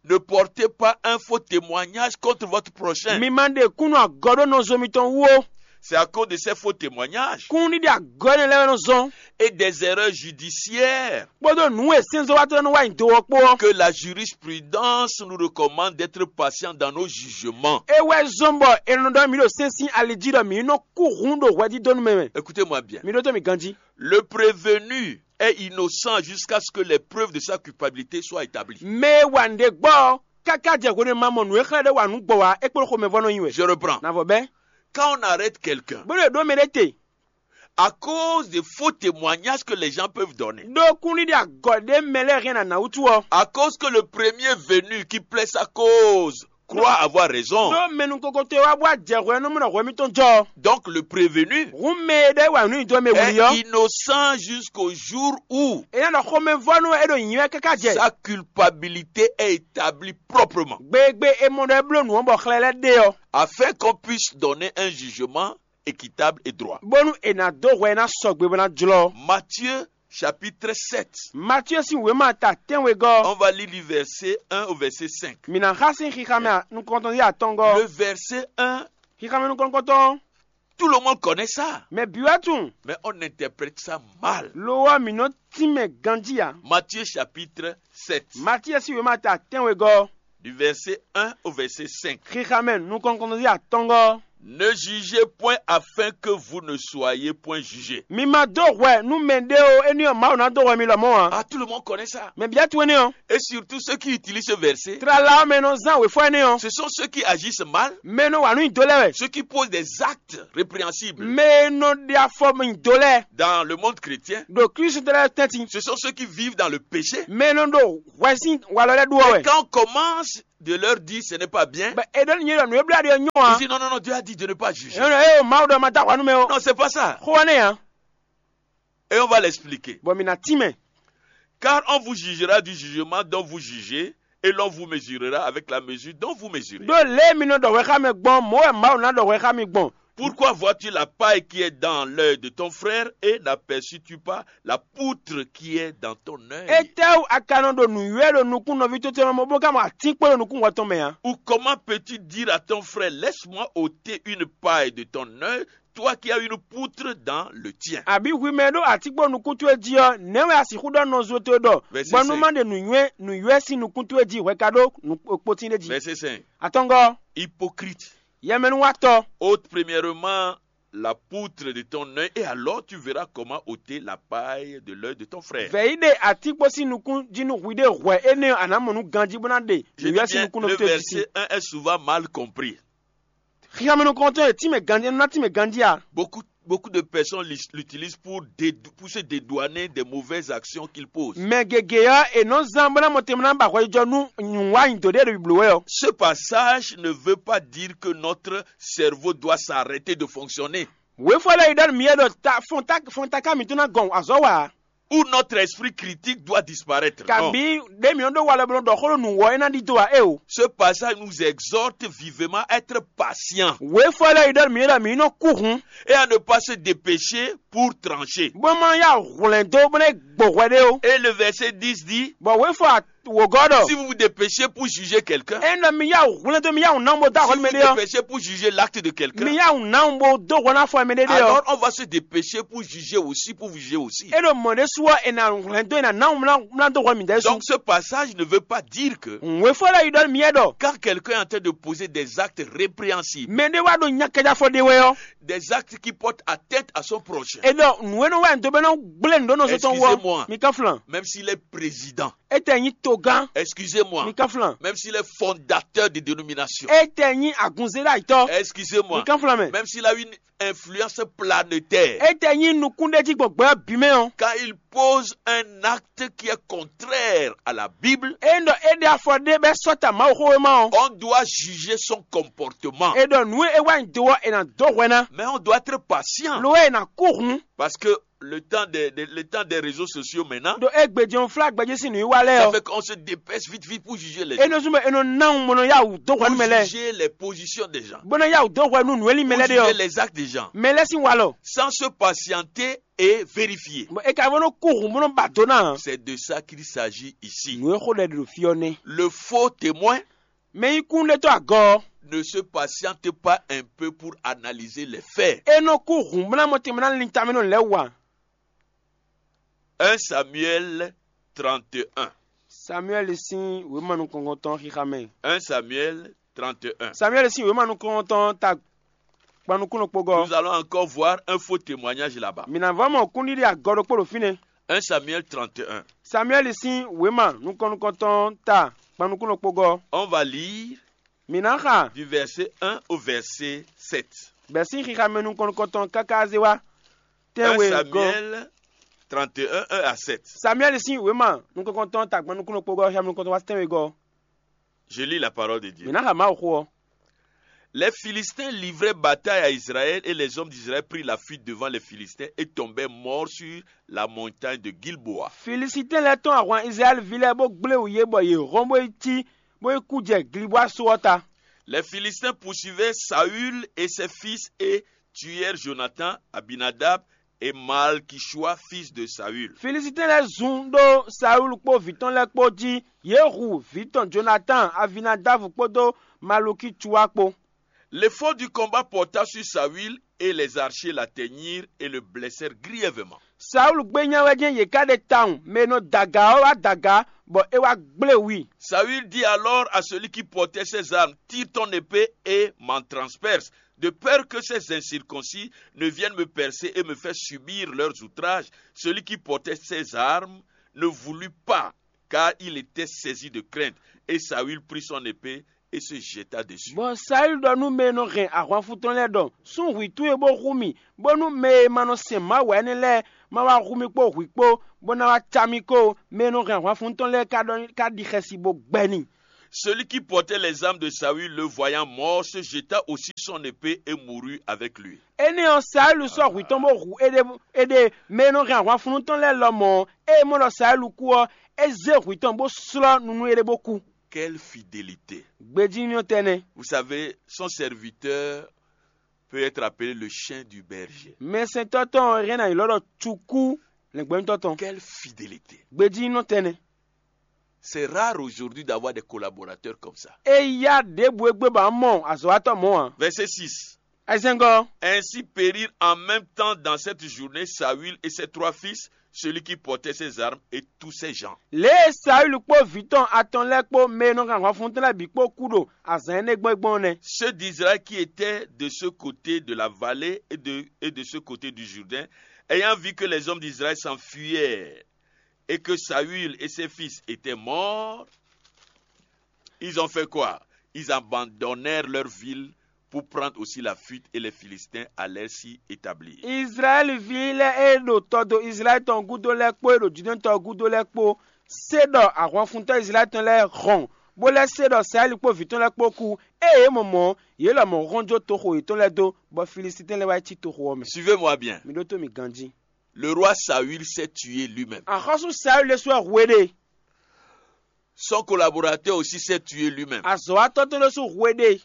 Ne portez pas un faux témoignage contre votre prochain. Mi ma ɖe kúnnu agɔ ɖó nɔzo mitɔn wú ó. C'est à cause de ces faux témoignages Kún ɖiɖi agɔ énɛ́ lɛ́ɛ wɛ nɔ zɔ́n. Et des erreurs judiciaires Kpódó nǔ e sɛ́nzɔ́watɔ́ lɛ́ɛ nɔ wa nyi do ɔ́ kpó ɔ́, que la jurisprudence nous recommande d'être patient dans nos jugements. É wɛ zɔ́n bɔ è nɔ ɖɔ mǐ ɖo sɛ́n sín ali jí ɖɔ mǐ nɔ kú hun ɖo hwɛdídónú mɛ mɛ. Écoutez-moi bien. Mi ɖótó mì ganjí. Le prévenu est innocent jusqu'à ce que les preuves de sa culpabilité soient établies. Mɛ e wa nǔɖé gbɔ ɔ́, káká jɛ hwenu e ma mɔ nǔ e xlɛ́ ɖé wa nǔ gbɔ wá é kplɔ́n xomɛvɔ́ nɔ nyi wɛ. Je reprends. Navɔ bɛ́. Quand on arrête quelqu'un, Bónú è ɖó mɛ ɖé te, À cause des faux témoignages que les gens peuvent donner, ɖó kúnɖiɖi agɔ ɖé mɛ lɛ́ɛ hɛn nǎ wútu ɔ́, à cause que le premier venu qui plaît sa cause croit avoir raison, ɖó mɛ nukɔntɔn e wá bó wá jɛ hwɛ nú mɔ ɖɔ hwɛ mitɔn jɔ ɔ́. Donc le prévenu Hǔn mɛ e ɖɔ é wa nǔ nyi dó mɛ wuli ɔ́, Est innocent jusqu'au jour où é ná ɖɔ xomɛvɔ́nú wɛ é ɖo nyǐ wɛ káká jɛ sa culpabilité est établie proprement. Gbe e gbe è mɔ ɖɔ é bló nǔ ɔ́ bɔ xlɛ lɛ́ɛ ɖe ɔ́, Afin qu'on puisse donner un jugement équitable et droit. Bónú è nǎ dó hwɛ e ná sɔgbe bó ná jlɔ́. Matthieu chapitre sept. Matíe sín wěma ta tɛ́nwegɔ́. On va lire du verset un au verset cinq. Mǐ ná xa sín xixamɛ nukɔntɔn yí atɔngɔ́. Le verset un, Xixamɛ nukɔntɔn, tout le monde connaît ça, mɛ bǐ wɛ tunwun. Mais on interprète ça mal. Lo ɔ́, mǐ nɔ tínmɛ ganjí ǎ. Matthieu chapitre sept. Matíe sín wěma ta tɛ́nwegɔ́. Du verset un au verset cinq. Xixamɛ nukɔntɔn yí atɔngɔ́. Ne jugez point afin que vous ne soyez point jugés. Mi ma dó hwɛ nú mɛ ɖé o, énɛ́ ɔ́ Mawu ná dó hwɛ mi lɔmɔ̌ ǎ. Ah, tout le monde connaît ça. Mɛ bǐ tunwun énɛ́ ɔ́. Et surtout ceux qui utilisent ce verset, Tlala ɔ́ mɛ e nɔ zán wěfɔ énɛ́ ɔ́, ce sont ceux qui agissent mal, mɛ e nɔ wa nǔ nyi do lɛ́ɛ wɛ. Ceux qui posent des actes répréhensibles. Mɛ e nɔ ɖe afɔ nyi do lɛ́ɛ. Dans le monde chrétien, Ɖo Klísu tɔn lɛ́ɛ tɛ́ntin. Ce sont ceux qui vivent dans le péché. Mɛ e nɔ ɖo hwɛ sín walɔ lɛ́ɛ ɖu ɔ́ wɛ. Quand on commence de leur dire ce n'est pas bien, Bɔ è ɖɔ nú nyɛ ɖɔ nǔ e bló aɖi ɔ́ nyɔ́ ǎ. Ils disent non, non, non, Dieu a dit de ne pas juger. È nɔ ée o Mawu ɖɔ ma dó ahwa nú mɛ ó. Non, c'est pas ça. Xó énɛ́ ǎ. Et on va l'expliquer. Bɔ mi ná tín mɛ. Car on vous jugera du jugement dont vous jugez, et l'on vous mesurera avec la mesure dont vous mesurez. Ɖó lě e mi nɔ ɖɔ hwɛ xá mɛ gbɔn, mɔ̌ wɛ Mawu ná ɖɔ hwɛ xá mi gbɔn. Pourquoi vois-tu la paille qui est dans l'œil de ton frère et n'aperçus-tu pas la poutre qui est dans ton œil? Étɛ́wú a ka nɔ ɖo nǔywɛ́ ɖo nukún nɔví towe tɔn mɛ bó ka mɔ atínkpo ɖo nukún hwɛ tɔn mɛ ǎ? Ou comment peux-tu dire à ton frère, laisse-moi ôter une paille de ton œil, toi qui as une poutre dans le tien? Abǐ hwi mɛ e ɖó atínkpo nukún towe jí ɔ́, nɛ̌ wɛ a sixú ɖɔ nɔzo towe ɖɔ, Verset bɔ nú cinq. Má ɖe nǔnywɛ́ nǔywɛ́ sín nukún towe jí hwɛ ka ɖó nǔkpotín ɖé jí? Verset cinq. Atɔngɔ́. Hypocrite. Yɛmɛnúwatɔ́. Ôte premièrement la poutre de ton œil, et alors tu verras comment ôter la paille de l'œil de ton frère. Vɛ̌ yi ɖe atínkpo sín nukún jí nú hwi ɖé hwɛ énɛ́ ɔ́, a nǎ mɔ nú ganjí bó ná ɖe Je nǔywɛ́ dis sín bien, nukún le nɔví towe jí sí. Verset un est souvent mal compris. Xixamɛ nukɔntɔn e tínmɛ ganjí, é nɔ ná tínmɛ ganjí a? Beaucoup, beaucoup de personnes l'is- l'utilisent pour, dédou- pour se dédouaner des mauvaises actions qu'ils posent. Mɛ gěgé ɔ́, è nɔ zán bó ná mɔ tɛnmɛ ná ba hwɛjijɔ nú nǔwanyido ɖé e ɖo blǒ wɛ ɔ́. Ce passage ne veut pas dire que notre cerveau doit s'arrêter de fonctionner. Wěfɔ lɛ́ɛ yi ɖɔ nú mǐ wɛ ɖɔ ta fɔn ta fɔn taká mǐtɔn ná gɔn azɔ̌ wa ǎ. Ou notre esprit critique doit disparaître. Non. Kabǐ ɖě mǐ nɔ ɖó walɔ bó nɔ ɖɔ xó ɖo nǔwɔ é ná ɖidó ǎ é o. Ce passage nous exhorte vivement à être patient. Wěfɔ lɛ́ɛ yi ɖɔ nú mǐ wɛ ɖɔ mǐ nɔ kú hun. Et à ne pas se dépêcher pour trancher. Bó ma yá hwlɛ̌n dó bó ná gbɔ hwɛ ɖé o. Et le verset dix dit, Bɔ wěfɔ wǒgɔ́ ɖɔ, si vous vous dépêchez pour juger quelqu'un, ényí ɖɔ mi yá hwlɛ́n dó mi yá ná bó dó si ahwɛ vous mɛ vous ɖé ɔ́, dépêchez pour juger l'acte de quelqu'un, mi yá ná bó dó hwɛ ná fɔ mɛ ɖé ɖé ɔ́, alors on va se dépêcher pour juger aussi, pour vous juger aussi. É ɖo mɔ̌ ɖé su ɔ́, è nǎ hwlɛ́n dó è nǎ ná mlá dó hwɛ mi ɖɛ́ su. Donc ce passage ne veut pas dire que Wěfɔ lɛ́ yi ɖɔ mi yɛ ɖɔ, quand quelqu'un est en train de poser des actes répréhensibles, mɛ ɖé wá ɖo nyakájáfɔ ɖé wɛ ɔ́, des actes qui portent atteinte à son prochain, é ɖɔ nǔ e nɔ wá nyi dó bɛ́ nɔ gblé nǔ ɖó nɔ só tɔn wú ɔ́, excusez-moi, mi ká flan. Même s'il est président, Étɛ́ nyí togán, excusez-moi, mi ká flan. Même s'il est fondateur de dénomination, Étɛ́ nyí agunzéɖayitɔ́, excusez-moi, mi ká flan mɛ. Même s'il a une influence planétaire, Étɛ́ nyí nukúnɖéjígbɔn gbɛ ɔ́ bǐ mɛ ɔ́, quand il pose un acte qui est contraire à la Bible, é ɖɔ é ɖe afɔ ɖé bɛ́ sɔ́ ta Mawuxówéma ɔ́, On doit juger son comportement. É ɖɔ nǔ e é wá nyi do ɔ́, è nǎ dó hwɛ ná. Mais on doit être patient. Lo ɔ́, è nǎ kú hǔn. Parce que le temps des, des- le temps des réseaux sociaux maintenant, Ɖo égbé jɛ́n flá gbɛjí sín nǔwiwa lɛ́ɛ ça ɔ́, fait qu'on se dépêche vite vite pour juger les é gens. Nɔ zún bɔ è nɔ ná wun bó nɔ yá wǔ dó hwɛ nú Pour mɛ lɛ́ɛ, juger les positions des gens. Bó nɔ yá wǔ dó hwɛ nú nǔ e lin mɛ Pour lɛ́ɛ ɖe juger ɔ́, les actes des gens. Mɛ lɛ́ɛ sín walɔ. Sans se patienter et vérifier. Bɔ è ka bó nɔ kú hǔn bó nɔ ba do ná. C'est de ça qu'il s'agit ici. Nǔ e xó ɖɛ ɖo fí ɔ́ nɛ́. Le faux témoin Mɛ nyí kúnnuɖetɔ́ agɔ ɔ́, ne se patiente pas un peu pour analyser les faits. É nɔ kú hǔnblánmɔ tɛnmɛ ná lin tamɛ nɔ lɛ́ wa. Un Samuel trente et un. Samuɛ́li sín wěma nukɔntɔn xixa mɛ. Un Samuel trente et un. Samuɛ́li sín wěma nukɔntɔn ta gban nukúnnɔ kpogɔ. Nous allons encore voir un faux témoignage là-bas. Mǐ ná vɔ mɔ kúnɖiɖi agɔ ɖokpó ɖo fínɛ́. Un Samuel trente et un. Samuɛ́li sín wěma nukɔn nukɔntɔn ta gban nukúnnɔ kpogɔ. On va lire Mǐ ná xa du verset un au verset sept. Bɛ̌ sín xixa mɛ nukɔn nukɔntɔn káká zé wá tɛ́nwe Un gɔ́. Samuel trente et un, un à sept. Samuɛ́li sín wěma nukɔntɔn ta gban nukúnnɔ kpogɔ xixa mɛ nukɔntɔn wá tɛ́nwe gɔ́. Je lis la parole de Dieu. Mǐ ná xa Mawu xó ɔ́. Les Philistins livraient bataille à Israël et les hommes d'Israël prirent la fuite devant les Philistins et tombèrent morts sur la montagne de Gilboa. Filisitín lɛ́ɛ tɔ́n ahwan Izlayɛ́liví lɛ́ɛ bó gblé wǔ yě bɔ yě hɔn bó yi cí bó yi kú jɛ Glibɔ́a só ɔ́ ta. Les Philistins poursuivaient Saül et ses fils et tuèrent Jonathan, Abinadab et Malkishua, fils de Saül. Filisitín lɛ́ɛ zun ɖó Saúlu kpó vǐ tɔn lɛ́ɛ kpó jí; yě hu vǐ tɔn Jonatán, Avinádávu kpódó Malukícuá kpó. L'effort du combat porta sur Saül et les archers l'atteignirent et le blessèrent grièvement. Saúlu gbé nya wɛ jɛ́n yě ká ɖe tawun; mɛ e nɔ da aga ɔ́ wá da aga, bɔ é wá gblé wǔ i. Saül dit alors à celui qui portait ses armes, tire ton épée et m'en transperce, de peur que ces incirconcis ne viennent me percer et me faire subir leurs outrages. Celui qui portait ses armes ne voulut pas, car il était saisi de crainte. Et Saül prit son épée et se jeta dessus. Bɔ Saúlu ɖɔ nú mɛ e nɔ hɛn ahwanfu tɔn lɛ́ɛ ɖɔ: Sún hwǐ towe bó hu mì, bónú mɛ e ma nɔ sɛn Mawu ǎ énɛ́ lɛ́ɛ ma wá hu mì kpó hwǐ kpó, bó ná wá cá mì kó. Mɛ e nɔ hɛn ahwanfu tɔn lɛ́ɛ ka ɖɔ ka ɖi xɛsi bó gbɛ n'i. Celui qui portait les armes de Saül, le voyant mort, se jeta aussi son épée et mourut avec lui. Énɛ́ ɔ́, Saúlu sɔ́ hwǐ tɔn bó hu éɖée. Éɖée, mɛ e nɔ hɛn ahwanfunnú tɔn lɛ́ɛ lɔmɔ̌ ɔ́, ée é mɔ ɖɔ Saúlu kú ɔ́, é zé hwǐ tɔn bó slɔ́ nu nú éɖée bó kú. Quelle fidélité! Gbejínɔ tɛnɛ. Vous savez, son serviteur peut être appelé le chien du berger. Mɛsɛntɔ́ tɔn ɔ́ hɛn ná nyǐ lɔ ɖɔ cukú lɛ̌ngbɛ́nútɔ́ tɔn. Quelle fidélité! Gbejínɔ tɛnɛ. C'est rare aujourd'hui d'avoir des collaborateurs comme ça. Eya ɖěbǔ e gbé ba mɔ azɔ̌watɔ́ mɔ̌ ǎ. Verset six. Azɛngɔ. Ainsi périrent en même temps dans cette journée Saül et ses trois fils, celui qui portait ses armes et tous ses gens. Lě e Saúlu kpó vǐ tɔn atɔn lɛ́ɛ kpó mɛ e nɔ hɛn ahwanfuntɔ́n lɛ́ɛ bǐ kpó kú ɖo azǎn énɛ́ gbɔn é gbɔn ɔ́ nɛ́. Ceux d'Israël qui étaient de ce côté de la vallée et de, et de ce côté du Jourdain, ayant vu que les hommes d'Israël s'enfuyaient et que Saül et ses fils étaient morts, ils ont fait quoi? Ils abandonnèrent leur ville pour prendre aussi la fuite et les Philistins allèrent s'y établir. Izlayɛ́liví lɛ́ɛ e ɖo tɔdo Izlayɛ́li tɔn gúdo lɛ́ɛ kpó e ɖo Judɛ́ɛn tɔn gúdo lɛ́ɛ kpó se ɖɔ ahwanfuntɔ́ Izlayɛ́li tɔn lɛ́ɛ hɔn, bó lɛ́ se ɖɔ Saúlu kpó vǐ tɔn lɛ́ɛ kpó kú. Ée yě mɔ mɔ̌, yě lɔmɔ̌ hɔn jó toxo yětɔn lɛ́ɛ dó, bɔ Filisitín lɛ́ɛ wá yi cí toxo ɔ́ mɛ. Suivez-moi bien. Mi ɖótó mi ganjí. Le roi Saül s'est tué lui-même. Axɔ́sú Saúlu ɖésú wɛ hu éɖée. Son collaborateur aussi s'est tué lui-même. Azɔ̌watɔ́ tɔn ɖésú hu éɖée.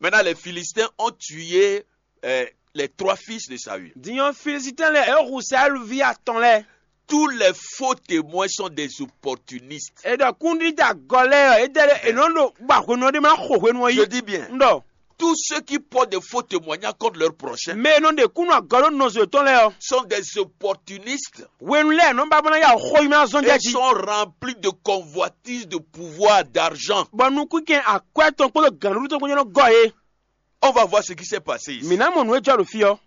Maintenant, les Philistins ont tué euh, les trois fils de Saül. Din ɔ́, Filisitín lɛ́ɛ é hu Saúlu ví atɔn lɛ́ɛ. Tous les faux témoins sont des opportunistes. È ɖɔ kúndídá gɔ lɛ́ɛ ɔ́, é dɛ́ ɖé è nɔ ɖo ba hwenu ɔ́ ɖé ma xo hwenu ɔ́ Je yí. dis bien, Un ɖɔ tous ceux qui portent des faux témoignages contre leur prochain mɛ e nɔ ɖe kúnnu agɔ ɖó nɔzo yětɔn lɛ́ɛ ɔ́, sont des opportunistes. hwenu lɛ́ɛ è nɔ ba bó ná ya xó yi ma zɔn jɛ Ils jí. Sont remplis de convoitises, de pouvoir, d'argent. Bɔ nukúnkɛn akwɛ́ tɔn kpódó gǎnɖuɖu tɔn kpó nyɔ́ nɔ gɔ yé. On va voir ce qui s'est passé ici. Mǐ ná mɔ nǔ e jɔ ɖo fí ɔ́.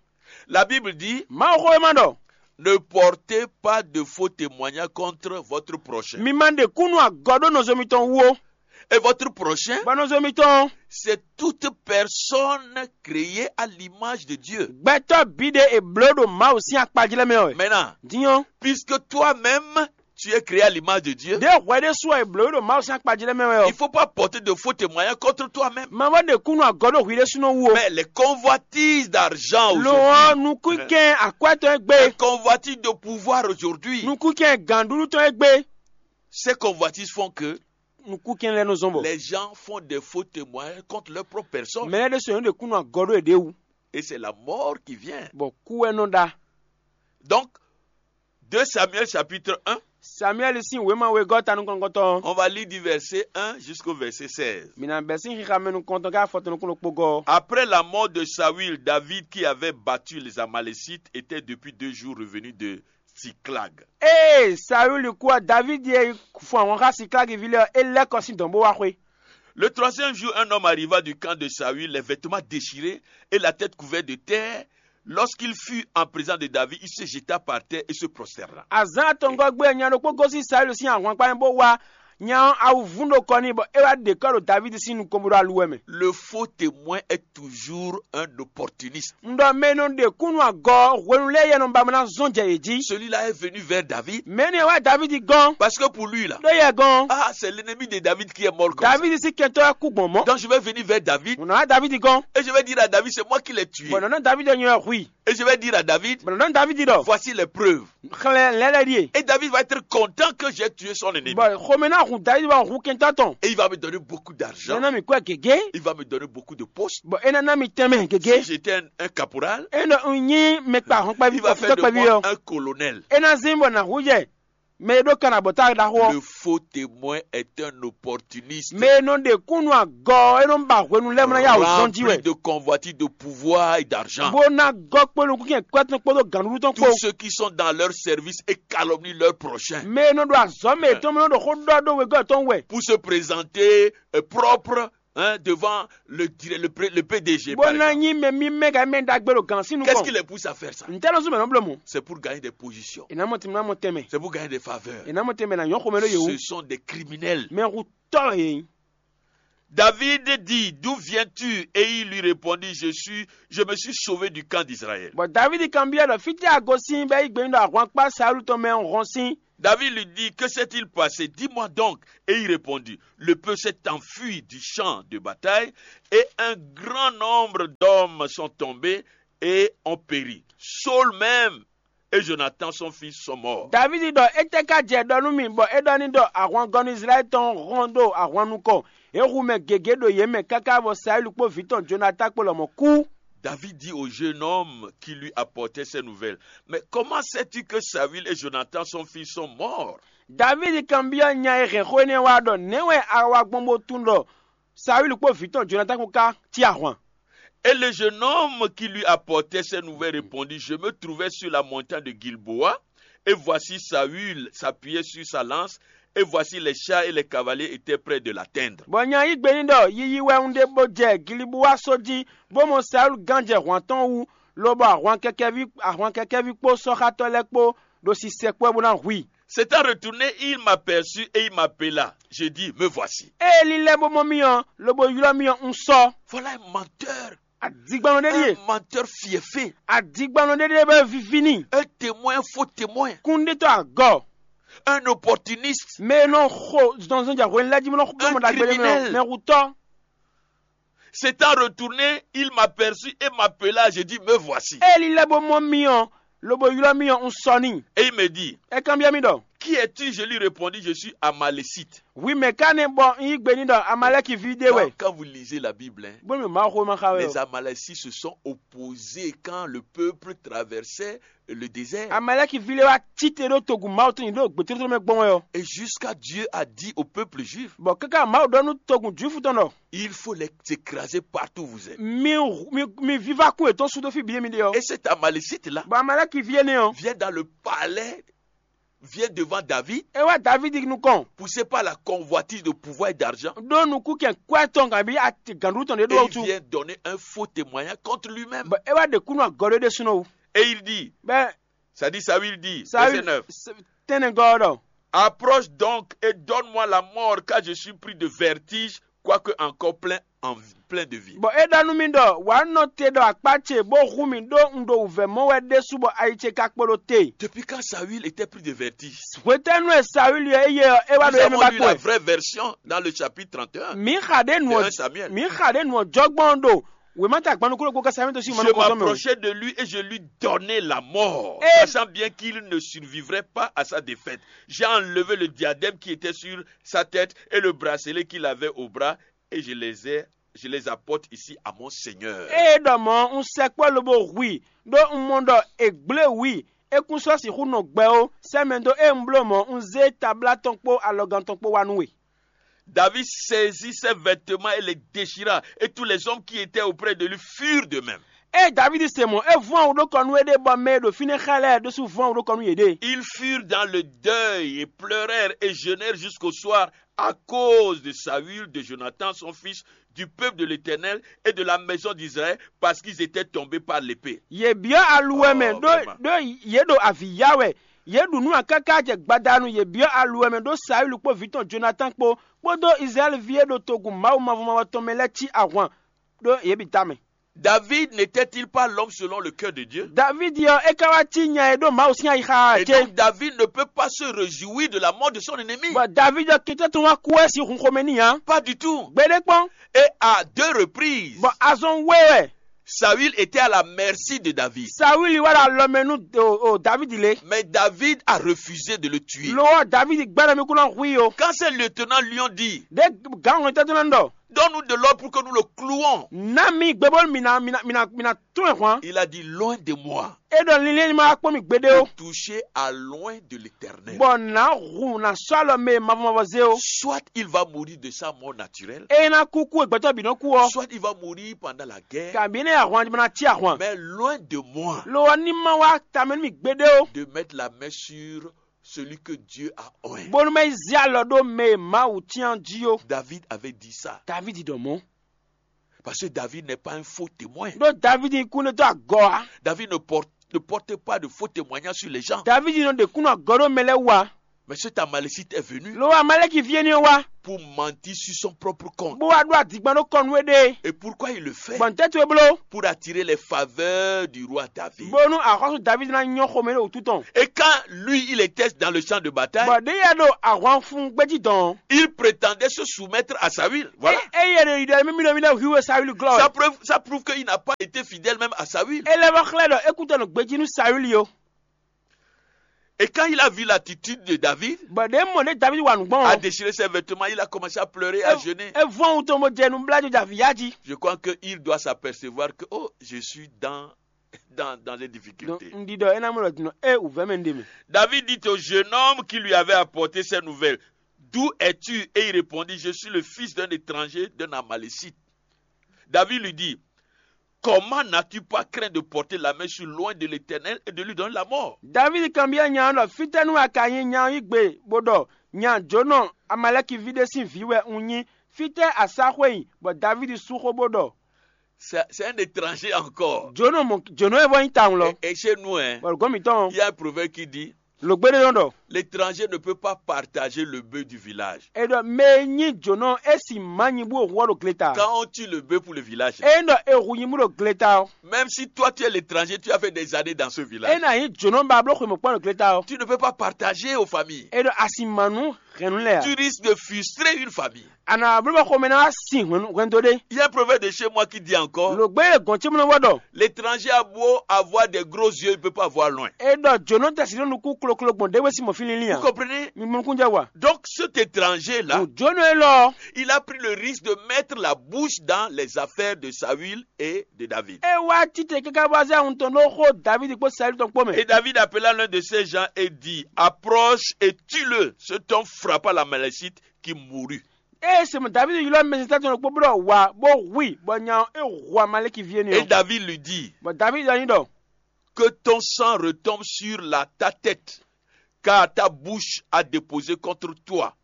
La Bible dit, Mawuxówéma ɖɔ ne portez pas de faux témoignages contre votre prochain. Mi ma ɖe kúnnu agɔ ɖó nɔzo mitɔn wú ó. Et votre prochain, Bɔ nɔzo mitɔn c'est toute personne créée à l'image de Dieu. Gbɛtɔ́ bǐ ɖe è blǒ ɖo Mawu sín akpajlɛ́ mɛ ɔ́. Maintenant, Din ɔ́, puisque toi-même, tu es créé à l'image de Dieu, ɖě hwɛ ɖésú ɔ́ è blǒ ɖo Mawu sín akpajlɛ́ mɛ wɛ il ɔ́. Faut pas porter de faux témoignages contre toi-même. Ma vɔ ɖe kúnnu agɔ ɖó hwi ɖésúnɔ wú ó. Mais les convoitises d'argent Lo ɔ́, aujourd'hui, nukúnkɛn akwɛ́ tɔn é les gbé. convoitises de pouvoir aujourd'hui, Nukúnkɛn gǎnɖuɖu tɔn é gbé. Ces convoitises font que Nukúnkɛn lɛ́ɛ nɔ zɔn bɔ. Les gens font des faux témoignages contre leur propre personne. Mɛ lɛ́ɛ ɖésú è nɔ ɖe kúnnu agɔ ɖó yěɖée wú. Et c'est la mort qui vient. Bɔ kú wɛ nɔ ɖa. Donc, deux Samuel chapitre un, Samuɛli sín wěma wegɔ́ ta nukɔntɔn. On va lire du verset un jusqu'au verset seize. Mǐ ná bɛ́ sín xixa mɛ nukɔntɔn ká afɔtɔn nukúnnú kpó gɔ́. Après la mort de Saül, David, qui avait battu les Amalécites, était depuis deux jours revenu de Siclag. Ée Saúli kú ɔ́, Davídi e fun ahwan xá Siklagi ví lɛ́ɛ ɔ́, é lɛ́ kɔ sín dɔ̌n bó wá xwé. Le troisième jour, un homme arriva du camp de Saül, les vêtements déchirés et la tête couverte de terre. Lorsqu'il fut en présence de David, il se jeta par terre et se prosterna. Azǎn atɔngɔ́ gbe nya ɖokpó gosín Saúli sín ahwankpá mɛ bó wá nya ɔ́ awu vún ɖo kɔ n'i bɔ é wá ɖe kɔ́ ɖo Davídi sín nukɔn bó ɖo aluwɛ mɛ. Le faux témoin est toujours un opportuniste. Un ɖɔ mɛ e nɔ ɖe kúnnu agɔ hwenu lɛ́ɛ yɛ nɔ ba mɔ ná zɔn jɛ yě jí. Celui-là est venu vers David. Mɛ énɛ́ wá Davídi gɔ́n. Parce que pour lui là, Ɖó yɛ gɔ́n. Ah, c'est l'ennemi de David qui est mort comme ça. Davídi sín kɛntɔ́ wɛ kú gbɔn mɔ̌. Donc je vais venir vers David. Mo nɔ wá Davídi gɔ́n. Et je vais dire à David, c'est moi qui l'ai tué. Bɔn nɔ ná Davídi nyɔ ɛ hu i. Et je vais dire à David, bɔn nɔ ná Davídi ɖɔ. Voici les preuves. Xlɛ lɛ́lɛ ɖíe. Et David va être content que j'ai tué son ennemi. Bɔn xomɛ ná hun Davídi wá hu kɛntɔ́ tɔn. Et il va me donner beaucoup d'argent. Nɔ ná mi kú ɛ gěgé. Il va me donner beaucoup de postes. Bɔn é ná ná mi tɛnmɛ gěgé. Si j'étais un, un caporal, é nɔ un nyí mɛ kpa hɔn kpaví il va faire de moi un colonel. É ná zín bɔ nǎ hu jɛ mɛ e ɖó kan abɔ̌ta ɖaxó ɔ́. Le faux témoin est un opportuniste. Mɛ e nɔ ɖe kúnnu agɔ ɔ́, é nɔ ba hwenu lɛ́ɛ mɔ ná yá wǔ zɔ́n jí wɛ. Rempli de convoitise de pouvoir et d'argent. Bó ná gɔ́ kpó nukúnkɛn kwɛ́tɔn kpódó gǎnɖuɖu tɔn kpó. Tous ceux qui sont dans leur service et calomnient leur prochain. Mɛ e nɔ ɖo azɔ̌ mɛ yětɔn mɛ nɔ ɖo xó ɖɔ ɖó wegɔ́ yětɔn wɛ. Pour se présenter euh, propre hein, devant le, dire- le, pré- le P D G. Bó Par ná exemple. Nyí mɛ mímɛ́ ka mɛ ɖagbe ɖo gǎn sín Qu'est-ce qui nukɔn. Les pousse à faire ça? Ntɛ́ lɔ zún mɛ nɔ bló mɔ. C'est pour gagner des positions. È nà mɔ tìmɔ nà mɔ tɛmɛ. C'est pour gagner des faveurs. È nà mɔ tɛmɛ nà nyɔ́ xomɛ ɖó yòówù. Ce sont des criminels. Mɛ hu tɔ́ yě. David dit, d'où viens-tu? Et il lui répondit, je suis, je me suis sauvé du camp d'Israël. Bɔn Davidi kanbyɔ́ ɖɔ fítɛ́ a gosín bɔ é yí gbe nyi ɖɔ ahwankpá Saúlu tɔn mɛ hɔn sín. David lui dit, que s'est-il passé? Dis-moi donc. Et il répondit, le peuple s'est enfui du champ de bataille et un grand nombre d'hommes sont tombés et ont péri. Saul même et Jonathan son fils sont morts. Davidi ɖɔ étɛ́ ka jɛ ɖɔ nú mì bɔ é ɖɔ ní ɖɔ ahwangɔnu Izlayɛ́li tɔn hɔn ɖo ahwan nukɔn. É hu mɛ gěgé ɖo yě mɛ káká bɔ Saúlu kpó vǐ tɔn Jonatán kpó lɔmɔ̌ kú. David dit au jeune homme qui lui apportait ces nouvelles, mais comment sais-tu que Saül et Jonathan son fils sont morts? Davidi kanbyɔ́ nya e hɛn xó énɛ́ wá ɖɔ nɛ̌ wɛ a wa gbɔn bó tunwun ɖɔ Saúlu kpó vǐ tɔn Jonatán kpó ká cí ahwan? Et le jeune homme qui lui apportait ces nouvelles répondit, je me trouvais sur la montagne de Gilboa, et voici Saül s'appuyait sur sa lance, et voici les chars et les cavaliers étaient prêts de l'atteindre. Bɔ nya yí gbe n'i ɖɔ yiyi wɛ un ɖe bó jɛ Gilibuwa só jí, bó mɔ Saúlu gán jɛ hwǎn tɔn wú, lobɔ ahwan kɛkɛví ahwan kɛkɛví kpó sɔ́xátɔ́ lɛ́ɛ kpó ɖo sisɛ kpɔ́ bó ná hu i. S'étant retourné, il m'aperçut et il m'appela. Je dis, me voici. Ée lílɛ́ bó mɔ mì ɔ́, lobo ylɔ́ mì ɔ́, un sɔ. Voilà un menteur. Adigbannɔ ɖé ɖíe. Un menteur fiefé. Adigbannɔ ɖé ɖíe bɛ vivi n'i. Un témoin, un faux témoin. Kúnɖétɔ́ agɔ. Un opportuniste. Mɛ e nɔ xo zɔnzɔn jɛ hwenu lɛ́ɛ jí mɔ nɔ xo mɔ ɖagbe ɖé mɛ ɔ́, mɛ hutɔ. S'étant retourné, il m'aperçut et m'appela. Je dis, me voici. Ée lílɛ́ bó mɔ mì ɔ́, lobo ylɔ́ mì ɔ́, un sɔ n'i. Et il me dit, é kanbyɔ́ mì ɖɔ. Qui es-tu ? Je lui répondis, je suis Amalécite. Hwi mɛ̌ ka nɛ́ bɔ un yí gbe n'i ɖɔ Amalɛ́ki ví ɖé wɛ? Quand vous lisez la Bible, hein, Bónú Mawu xomɛ xa wɛ les o. Amalécites se sont opposés quand le peuple traversait le désert. Amalɛ́ki ví lɛ́ɛ wá cíte ɖó togun Mawu tɔn nyi ɖo gbětótló mɛ gbɔn wɛ ɔ́. Et jusqu'à Dieu a dit au peuple juif, Bɔ káká Mawu ɖɔ nú togun Jwifu tɔn ɖɔ il faut les écraser partout où vous êtes. mi mi mi viva kún yětɔn sú dó fí bǐ mi ɖe ɔ́. Et cet Amalécite-là Bɔ Amalɛ́ki ví énɛ́ ɔ́, vient dans le palais, vient devant David, é wá Davidi nukɔn poussé par la convoitise de pouvoir et d'argent. ɖó nukúnkɛn kwɛ́ tɔn kabi gǎnɖú tɔn ɖé Et ɖó il tu. Vient donner un faux témoignage contre lui-même. Bɔ é wá ɖe kúnú agɔ ɖé ɖésúnɔ wú. Et il dit, Bɛ c'est-à-dire Saül dit, Saül verset neuf, tɛnɛgɔ ɔ́ ɖɔ approche donc et donne-moi la mort, car je suis pris de vertige, quoique encore plein, en, plein de vie. Bɔ é ɖɔ nú mì ɖɔ wǎ nɔ te ɖɔ akpá ce bó hu mì ɖó un ɖo wǔvɛ́ mɔ wɛ ɖésú bɔ ayi ce ka kpo ɖo te. Depuis quand Saül était pris de vertige? Hwetɛ́nu e Saúli ɔ́ é yɛ ɔ́ é wá Nous ɖo émí avons ba lu kpó la ɛ. Vraie version dans le chapitre trente et un. Mǐ xa ɖě nu De ɔ́ un Samuel. Mǐ xa ɖě nu ɔ́ jɔgbɔn ɖo wěma ta gbanu kúló gbó kásámí tó sí Je mɔnukɔsɔmɛ o. M'approchai de lui et je lui donnai la mort, Et- sachant bien qu'il ne survivrait pas à sa défaite. J'ai enlevé le diadème qui était sur sa tête et le bracelet qu'il avait au bras, et je les ai, je les apporte ici à mon Seigneur. Ée ɖɔ mɔ̌ un sɛkpɔ́ lobo hu i ɖó un mɔ ɖɔ è gblé wǔ i é kún sɔ́ sixú nɔ gbɛ ó. Sɛ́ mɛ dó ée un bló mɔ̌ un zé tablá tɔn kpó alɔgán tɔn kpó wá nú we. David saisit ses vêtements et les déchira, et tous les hommes qui étaient auprès de lui furent de même. Ée Davidi se mɔ̌ é vɔ́n awu ɖó kɔ nú éɖée bɔ mɛ e ɖo fínɛ́ xá lɛ́ɛ ɖésú vɔ́n awu ɖó kɔ nú yěɖée. Ils furent dans le deuil et pleurèrent et jeûnèrent jusqu'au soir à cause de Saül, de Jonathan son fils, du peuple de l'Éternel et de la maison d'Israël, parce qu'ils étaient tombés par l'épée. Yě byɔ́ aluwɛ mɛ Oh, ɖó vraiment. ɖó yě ɖo avǐ ya wɛ. Yě ɖu nú akáká jɛ gbadanu yě byɔ́ aluwɛ mɛ ɖó Saúli kpó vǐ tɔn Jonatán kpó kpódó Izlayɛ́li ví e ɖo togun Mawu mavɔ mavɔ tɔn mɛ lɛ́ɛ cí ahwan ɖó yě bǐ tamɛ. David n'était-il pas l'homme selon le cœur de Dieu? Davidi ɔ́ é ka wá cí nya e ɖó Mawu sín ayixa ɔ́ Et cé? Donc David ne peut pas se réjouir de la mort de son ennemi. Bɔ Davidi ɔ́ kɛntɔ́ tɔn wá kú wɛ sín hun xomɛ n'i ǎ. Pas du tout. Gbeɖé kpɔ́n. Et à deux reprises, Bɔ azɔn wé wɛ Saül était à la merci de David. Saúli wá ɖo alɔ mɛ nú o- o Davidi lé. Mais David a refusé de le tuer. Lo ɔ́ Davidi gbɛ́ ɖɔ mi kún ná hu i o. Quand ses lieutenants lui ont dit, Ɖé gǎn hɔn tɛ́ tɔn ná ɖɔ donne-nous de l'ordre pour que nous le clouons, ná mi gbe bónú mi ná mi ná mi ná mi ná tún ɛ hwan. Il a dit, loin de moi É ɖɔ linlɛ́n ní ma wá kpɔ́n mi gbeɖé o. Touché à loin de l'Éternel. Bɔ nǎ hu nǎ sɔ́ alɔ mɛ e mavɔ mavɔ zé o. Soit il va mourir de sa mort naturelle, É ná kú kú e gbɛtɔ́ bǐ nɔ kú ɔ. Soit il va mourir pendant la guerre, Kabǐ nɛ́ ahwan ná cí ahwan. Mais loin de moi Lo ɔ́ ní ma wá tamɛ nú mi gbeɖé o. De mettre la main sur celui que Dieu a oint. Bónú ma yi zé alɔ ɖó mɛ e Mawu cyán jí ó. David avait dit ça. Davidi ɖɔ mɔ̌. Parce que David n'est pas un faux témoin. Ɖó Davidi kún ɖe dó agɔ ǎ. David ne porte, ne porte pas de faux témoignages sur les gens. Davidi nɔ ɖe kúnnu agɔ ɖó mɛ lɛ́ɛ wú ǎ. Mais cet Amalécite est venu Lo Amaleki ví énɛ́ wá pour mentir sur son propre compte. Bó wá ɖó adigbán ɖó kɔnu éɖée. Et pourquoi il le fait? Gbɔn tɛ́ towe bló. Pour attirer les faveurs du roi David. Bónú axɔ́sú Davidi ná nyɔ́ xomɛ ɖo wútu tɔn. Et quand lui, il était dans le champ de bataille, Bɔ ɖé yɛ ɖo ahwan fun gbéjí dɔn. Il prétendait se soumettre à Saül. Voilà. Eye ɖe yi ɖe mímí ɖe mí ɖe hwiwe Saül glɔ. Ça prouve, ça prouve qu'il n'a pas été fidèle même à Saül. Ele vɔ xlɛ ɖɔ ekutɔ nɔ gbejí nú Saül yo. Et quand il a vu l'attitude de David, Bɔ ɖe mɔ ɖe David wa nǔgbɔn. A déchiré ses vêtements, il a commencé à pleurer, à jeûner. E vɔn wutɔn bɔ jɛ nu bla jo javi ya ji. Je crois qu'il doit s'apercevoir que, oh, je suis dans, dans, dans des difficultés. Ndi dɔ ena mo lɔ dinɔ e wuvɛ mɛ nde mɛ. David dit au jeune homme qui lui avait apporté ces nouvelles, d'où es-tu? Et il répondit, je suis le fils d'un étranger, d'un Amalécite. David lui dit, comment n'as-tu pas craint de porter la main sur loin de l'Éternel et de lui donner la mort? David kanbyɔ́ nya ɔ́ ɖɔ fítɛ́ nú a ka nyí nya ɔ́ yí gbe bó ɖɔ nya jǒnɔ Amalɛki ví ɖé sín vǐ wɛ un nyí, fítɛ́ a sá xwé nyi bɔ David sú xó bó ɖɔ. C'est c'est un étranger encore. Jǒnɔ mɔ jǒnɔ e vɔ nyí tawun lɔ. Et, et chez nous, hein, Bɔ gɔ́n mǐtɔn il y a un proverbe qui dit, lǒgbéɖé nɔ ɖɔ l'étranger ne peut pas partager le bœuf du village. E ɖɔ mɛ e nyí jǒnɔ e si ma nyi bó hu ɔ ɖo gleta. Quand on tue le bœuf pour le village, E ɖɔ e hu nyi bó ɖo gleta ɔ. Même si toi tu es l'étranger, tu as fait des années dans ce village. E na nyi jǒnɔ ba bló xwe mɔ̌kpɔ́ ɖo gleta ɔ. Tu ne peux pas partager aux familles. E ɖɔ a si ma nú hɛn nǔ lɛ́ɛ ǎ. Tu risques de frustrer une famille. A nǎ bló bɔ xomɛ ná wá sin hwɛndo ɖé. Il y a un proverbe de chez moi qui dit encore, Lǒgbé e gɔ̌n ce mlɔ́ vɔ ɖɔ l'étranger a beau avoir des gros yeux, il ne peut pas voir loin. É ɖɔ jǒnɔ tɛsi ɖó nukún kloklo gbɔn ɖéwé sín mɔ fí línlín Vous ǎ. comprenez? Mi mɔ nukúnjɛ wa. Donc cet étranger-là, Jǒnɔ élɔ́ il a pris le risque de mettre la bouche dans les affaires de Saül et de David. É wá títɛ káká bó wá zé ahun tɔn ɖó xó Davídi kpó Saúli tɔn kpó mɛ. Et David appela l'un de ses gens et dit, approche et tue-le. Cet homme frappa l'Amalécite qui mourut. Ée se mɔ Davídi ylɔ́ mɛsɛntɔ́ tɔn ɖokpó bó ɖɔ wǎ bó hu i, bɔ nya ɔ́ é hu Amaleki ví énɛ́ Et ɔ́. David lui dit, Bɔ Davídi ɖɔ n'i ɖɔ que ton sang retombe sur la, ta tête, car ta bouche a déposé contre toi,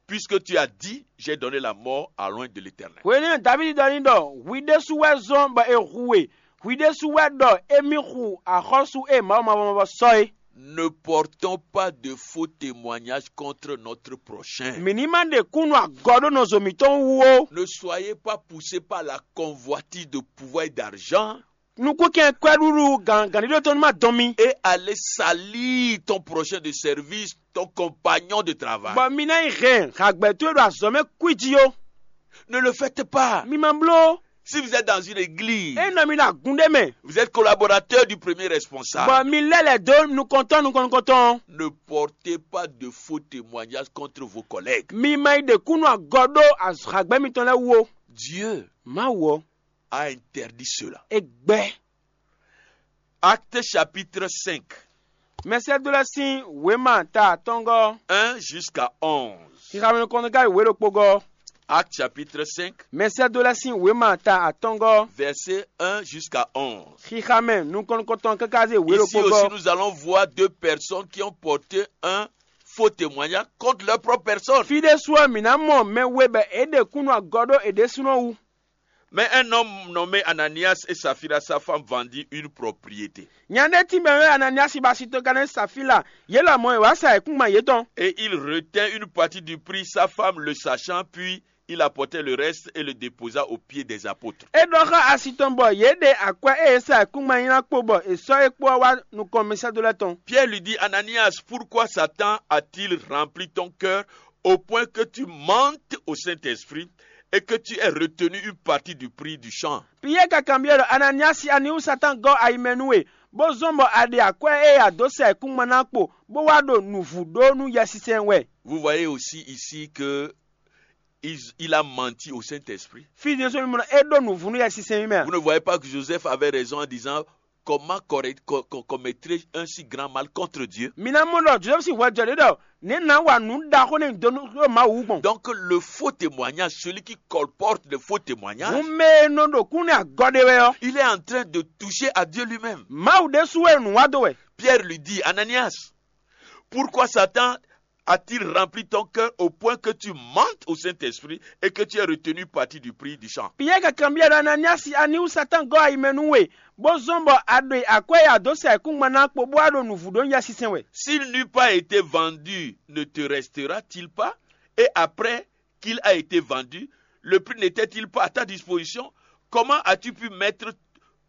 puisque tu as dit, j'ai donné la mort à l'oint de l'Éternel. Hwenɛ́nu Davídi ɖɔ n'i ɖɔ hwi ɖésú wɛ zɔ́n bɔ è hu we, hwi ɖésú wɛ ɖɔ émí hu axɔ́sú e Mawu mavɔ mavɔ sɔ́ é. Ne portons pas de faux témoignages contre notre prochain. Mǐ ní má ɖe kúnnu agɔ ɖó nɔzo mǐtɔn wú ó. Ne soyez pas poussés par la convoitise de pouvoir et d'argent Nukúnkɛn kwɛ́ɖuɖu gǎngǎnɖíɖó tɔn ní má dɔn mi. Et aller salir ton prochain de service, ton compagnon de travail. Bɔ mi ná yi hɛn hǎgbɛ́ towe ɖo azɔ̌ mɛ kwíji ó. Ne le faites pas. Mi ma bló. Si vous êtes dans une église, É nɔ mi ɖo agun ɖé mɛ. Vous êtes collaborateur du premier responsable. Bɔ mi lɛ́ lɛ̌ dó nukɔntɔn nukɔn nukɔntɔn. Ne portez pas de faux témoignages contre vos collègues. Mi ma yi ɖe kúnnu agɔ ɖó hǎgbɛ́ mitɔn lɛ́ɛ wú ó. Dieu Mawu ɔ́, a interdit cela. é gbɛ́. Actes chapitre cinq, Mɛsɛ́dó lɛ́ɛ sín wěma ta atɔ́ngɔ́. Un jusqu'à onze. Xixamɛ nukɔntɔn ká yi wě ɖokpó gɔ́. Actes chapitre cinq, Mɛsɛ́dó lɛ́ɛ sín wěma ta atɔ́ngɔ́. Verset un jusqu'à onze. Xixamɛ nukɔn nukɔntɔn káká zé wě Ici ɖokpó aussi, gɔ́. Nous allons voir deux personnes qui ont porté un faux témoignage contre leur propre personne. Fí ɖésú ɔ́, mǐ ná mɔ mɛ we bɔ é ɖe kúnnu agɔ ɖó è ɖésúnɔ wú. Mais un homme nommé Ananias et Saphira, sa femme, vendit une propriété. Nya ɖé tínmɛ wɛ Ananiasi bɔ asi tɔn ka ná Safila, yě lɔmɔ̌ è wǎ sa ayǐkúngban yětɔn. Et il retint une partie du prix, sa femme le sachant, puis il apportait le reste et le déposa aux pieds des apôtres. É ɖɔ xá asi tɔn bɔ yě ɖe akwɛ́ e è sa ayǐkúngban nyi ná kpo bɔ è sɔ́ é kpó ɔ́ wá nukɔn mɛsɛ́dó lɛ́ɛ tɔn. Pierre lui dit, Ananias, pourquoi Satan a-t-il rempli ton cœur au point que tu mentes au Saint-Esprit et que tu aies retenu une partie du prix du champ? Piyɛ́ɛ ka kanbyɔ́ ɖɔ Ananiasi, ani wú Satan gɔ́ ayi mɛ nú we, bó zɔ́n bɔ a ɖe akwɛ́ e a dǒ sa ayǐkúngban ná kpo, bó wá ɖo nǔvú ɖó nú Yɛsinsɛn wɛ. Vous voyez aussi ici que il, il a menti au Saint-Esprit. Fí din sɔ́ mi mɔ é ɖó nǔvú nú Yɛsinsɛn mɛ. Vous ne voyez pas que Joseph avait raison en disant, comment corre- co- co- commettrais un si grand mal contre Dieu? Mi ná mɔ ɖɔ Josɛ́fu sín hwɛ jɔ ɖě ɖɔ nɛ̌ nǎ wa nǔ ɖaxó nɛ dó nú ɖó Mawu wú gbɔn. Donc le faux témoignage, celui qui colporte le faux témoignage, Hǔn mɛ e nɔ ɖo kún nú agɔ ɖé wɛ ɔ́, il est en train de toucher à Dieu lui-même. Mawu ɖésú wɛ nǔ wa dó wɛ. Pierre lui dit, Ananias, pourquoi Satan a-t-il rempli ton cœur au point que tu mentes au Saint-Esprit et que tu aies retenu partie du prix du champ? Piyɛ́ɛ ka kanbyɔ́ ɖɔ Ananiasi, ani wú Satan gɔ́ ayi mɛ nú we, bó zɔ́n bɔ a ɖe akwɛ́ e a dǒ sa ayǐkúngban ná kpo bó wá ɖo nǔvú ɖó Yɛsinsɛn wɛ. S'il n'eût pas été vendu, ne te restera-t-il pas? Et après qu'il a été vendu, le prix n'était-il pas à ta disposition? Comment as-tu pu mettre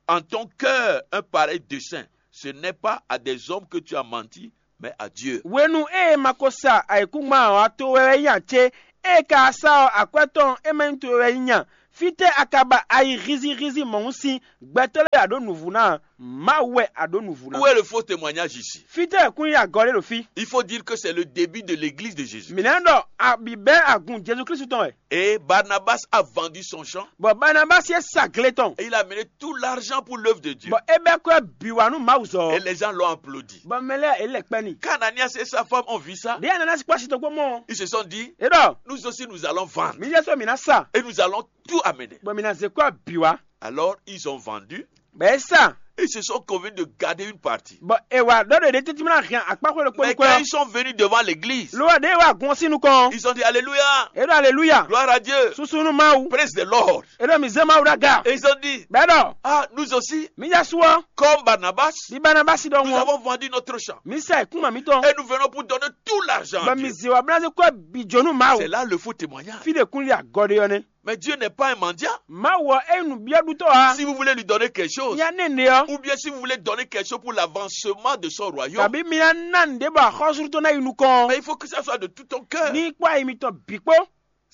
en ton cœur un pareil dessein? Ce n'est pas à des hommes que tu as menti, mais à Dieu. Hwenu e ma ko sa ayǐkúngban ɔ́, to wɛ wɛ nyí ǎ cé? Ée ka sa ɔ́, akwɛ́ tɔn e ma nyí to wɛ wɛ nyí nya. Fítɛ́ a ka ba ayi hízíhízí mɔ̌hun sín gbɛtɔ́ lɛ́ɛ a ɖǒ nǔvú ná? Mawu wɛ a ɖǒ nǔvú ná. Où est le faux témoignage ici? Fítɛ́ wɛ kún nyí agɔ ɖé ɖo fí? Il faut dire que c'est le début de l'église de Jésus. Mǐ ná ɖɔ abǐbɛ́ agun Jezu Klísu tɔn wɛ. Et Barnabas a vendu son champ Bɔ Barnabasi é sa gle tɔn, et il a amené tout l'argent pour l'œuvre de Dieu. Bɔ é bɛ́ kwɛ́ bǐ wá nú Mawu zɔ. Et les gens l'ont applaudi. Bɔ mɛ lɛ́ɛ é lɛ kpɛ́ n'i. Quand Ananias et sa femme ont vu ça, Ɖěe Ananasi kpó asi tɔn kpó mɔ ɔ́, ils se sont dit, é ɖɔ nous aussi nous allons vendre. Mǐ lɛ́ sɔ́ mǐ ná sa, Et nous allons tout amener. bɔ mǐ ná zé kwɛ́ bǐ wá. Alors ils ont vendu. Bɔ é sa, Ils se sont convenus de garder une partie. Bɔ è wǎ ɖɔ ɖe ɖě tɛ́ntin ná hɛn akpáxwé ɖokpó Mais nukɔn quand ɔ́. Ils sont venus devant l'église, Lo wɛ ɖě wá gun ɔ́ sín nukɔn. Ils ont dit, Alléluia, É ɖɔ aleluya. Gloire à Dieu, Susu nú Mawu. Praise the Lord. É ɖɔ mǐ zé Mawu ɖó aga. Et ils ont dit, É ɖɔ Ah, nous aussi, mǐ ja su ɔ́. Comme Barnabas, Bí Barnabasi ɖɔ nous ŋu ɔ́, avons vendu notre champ. Mǐ sa ìkúnmɛ mǐtɔn. Et nous venons pour donner tout l'argent. À Bɔ Dieu. mǐ zé wá bó ná zé kwɛ́ bǐ jó nú Mawu. C'est là le faux témoignage. Fí ɖě kún lé agɔ ɖé ɔ́ nɛ́. Mais Dieu n'est pas un mendiant. Mawu ɔ́ é nyí nǔbyɔ́ɖutɔ́ ǎ. Si vous voulez lui donner quelque chose, Nya nɛ́ ɖe ɔ́, ou bien si vous voulez donner quelque chose pour l'avancement de son royaume, kabǐ mi ná ná nǔɖé bɔ axɔ́sú tɔn ná yi nukɔn ɔ́, mais il faut que ça soit de tout ton cœur. Ní kpó ayi mitɔn bǐ kpó.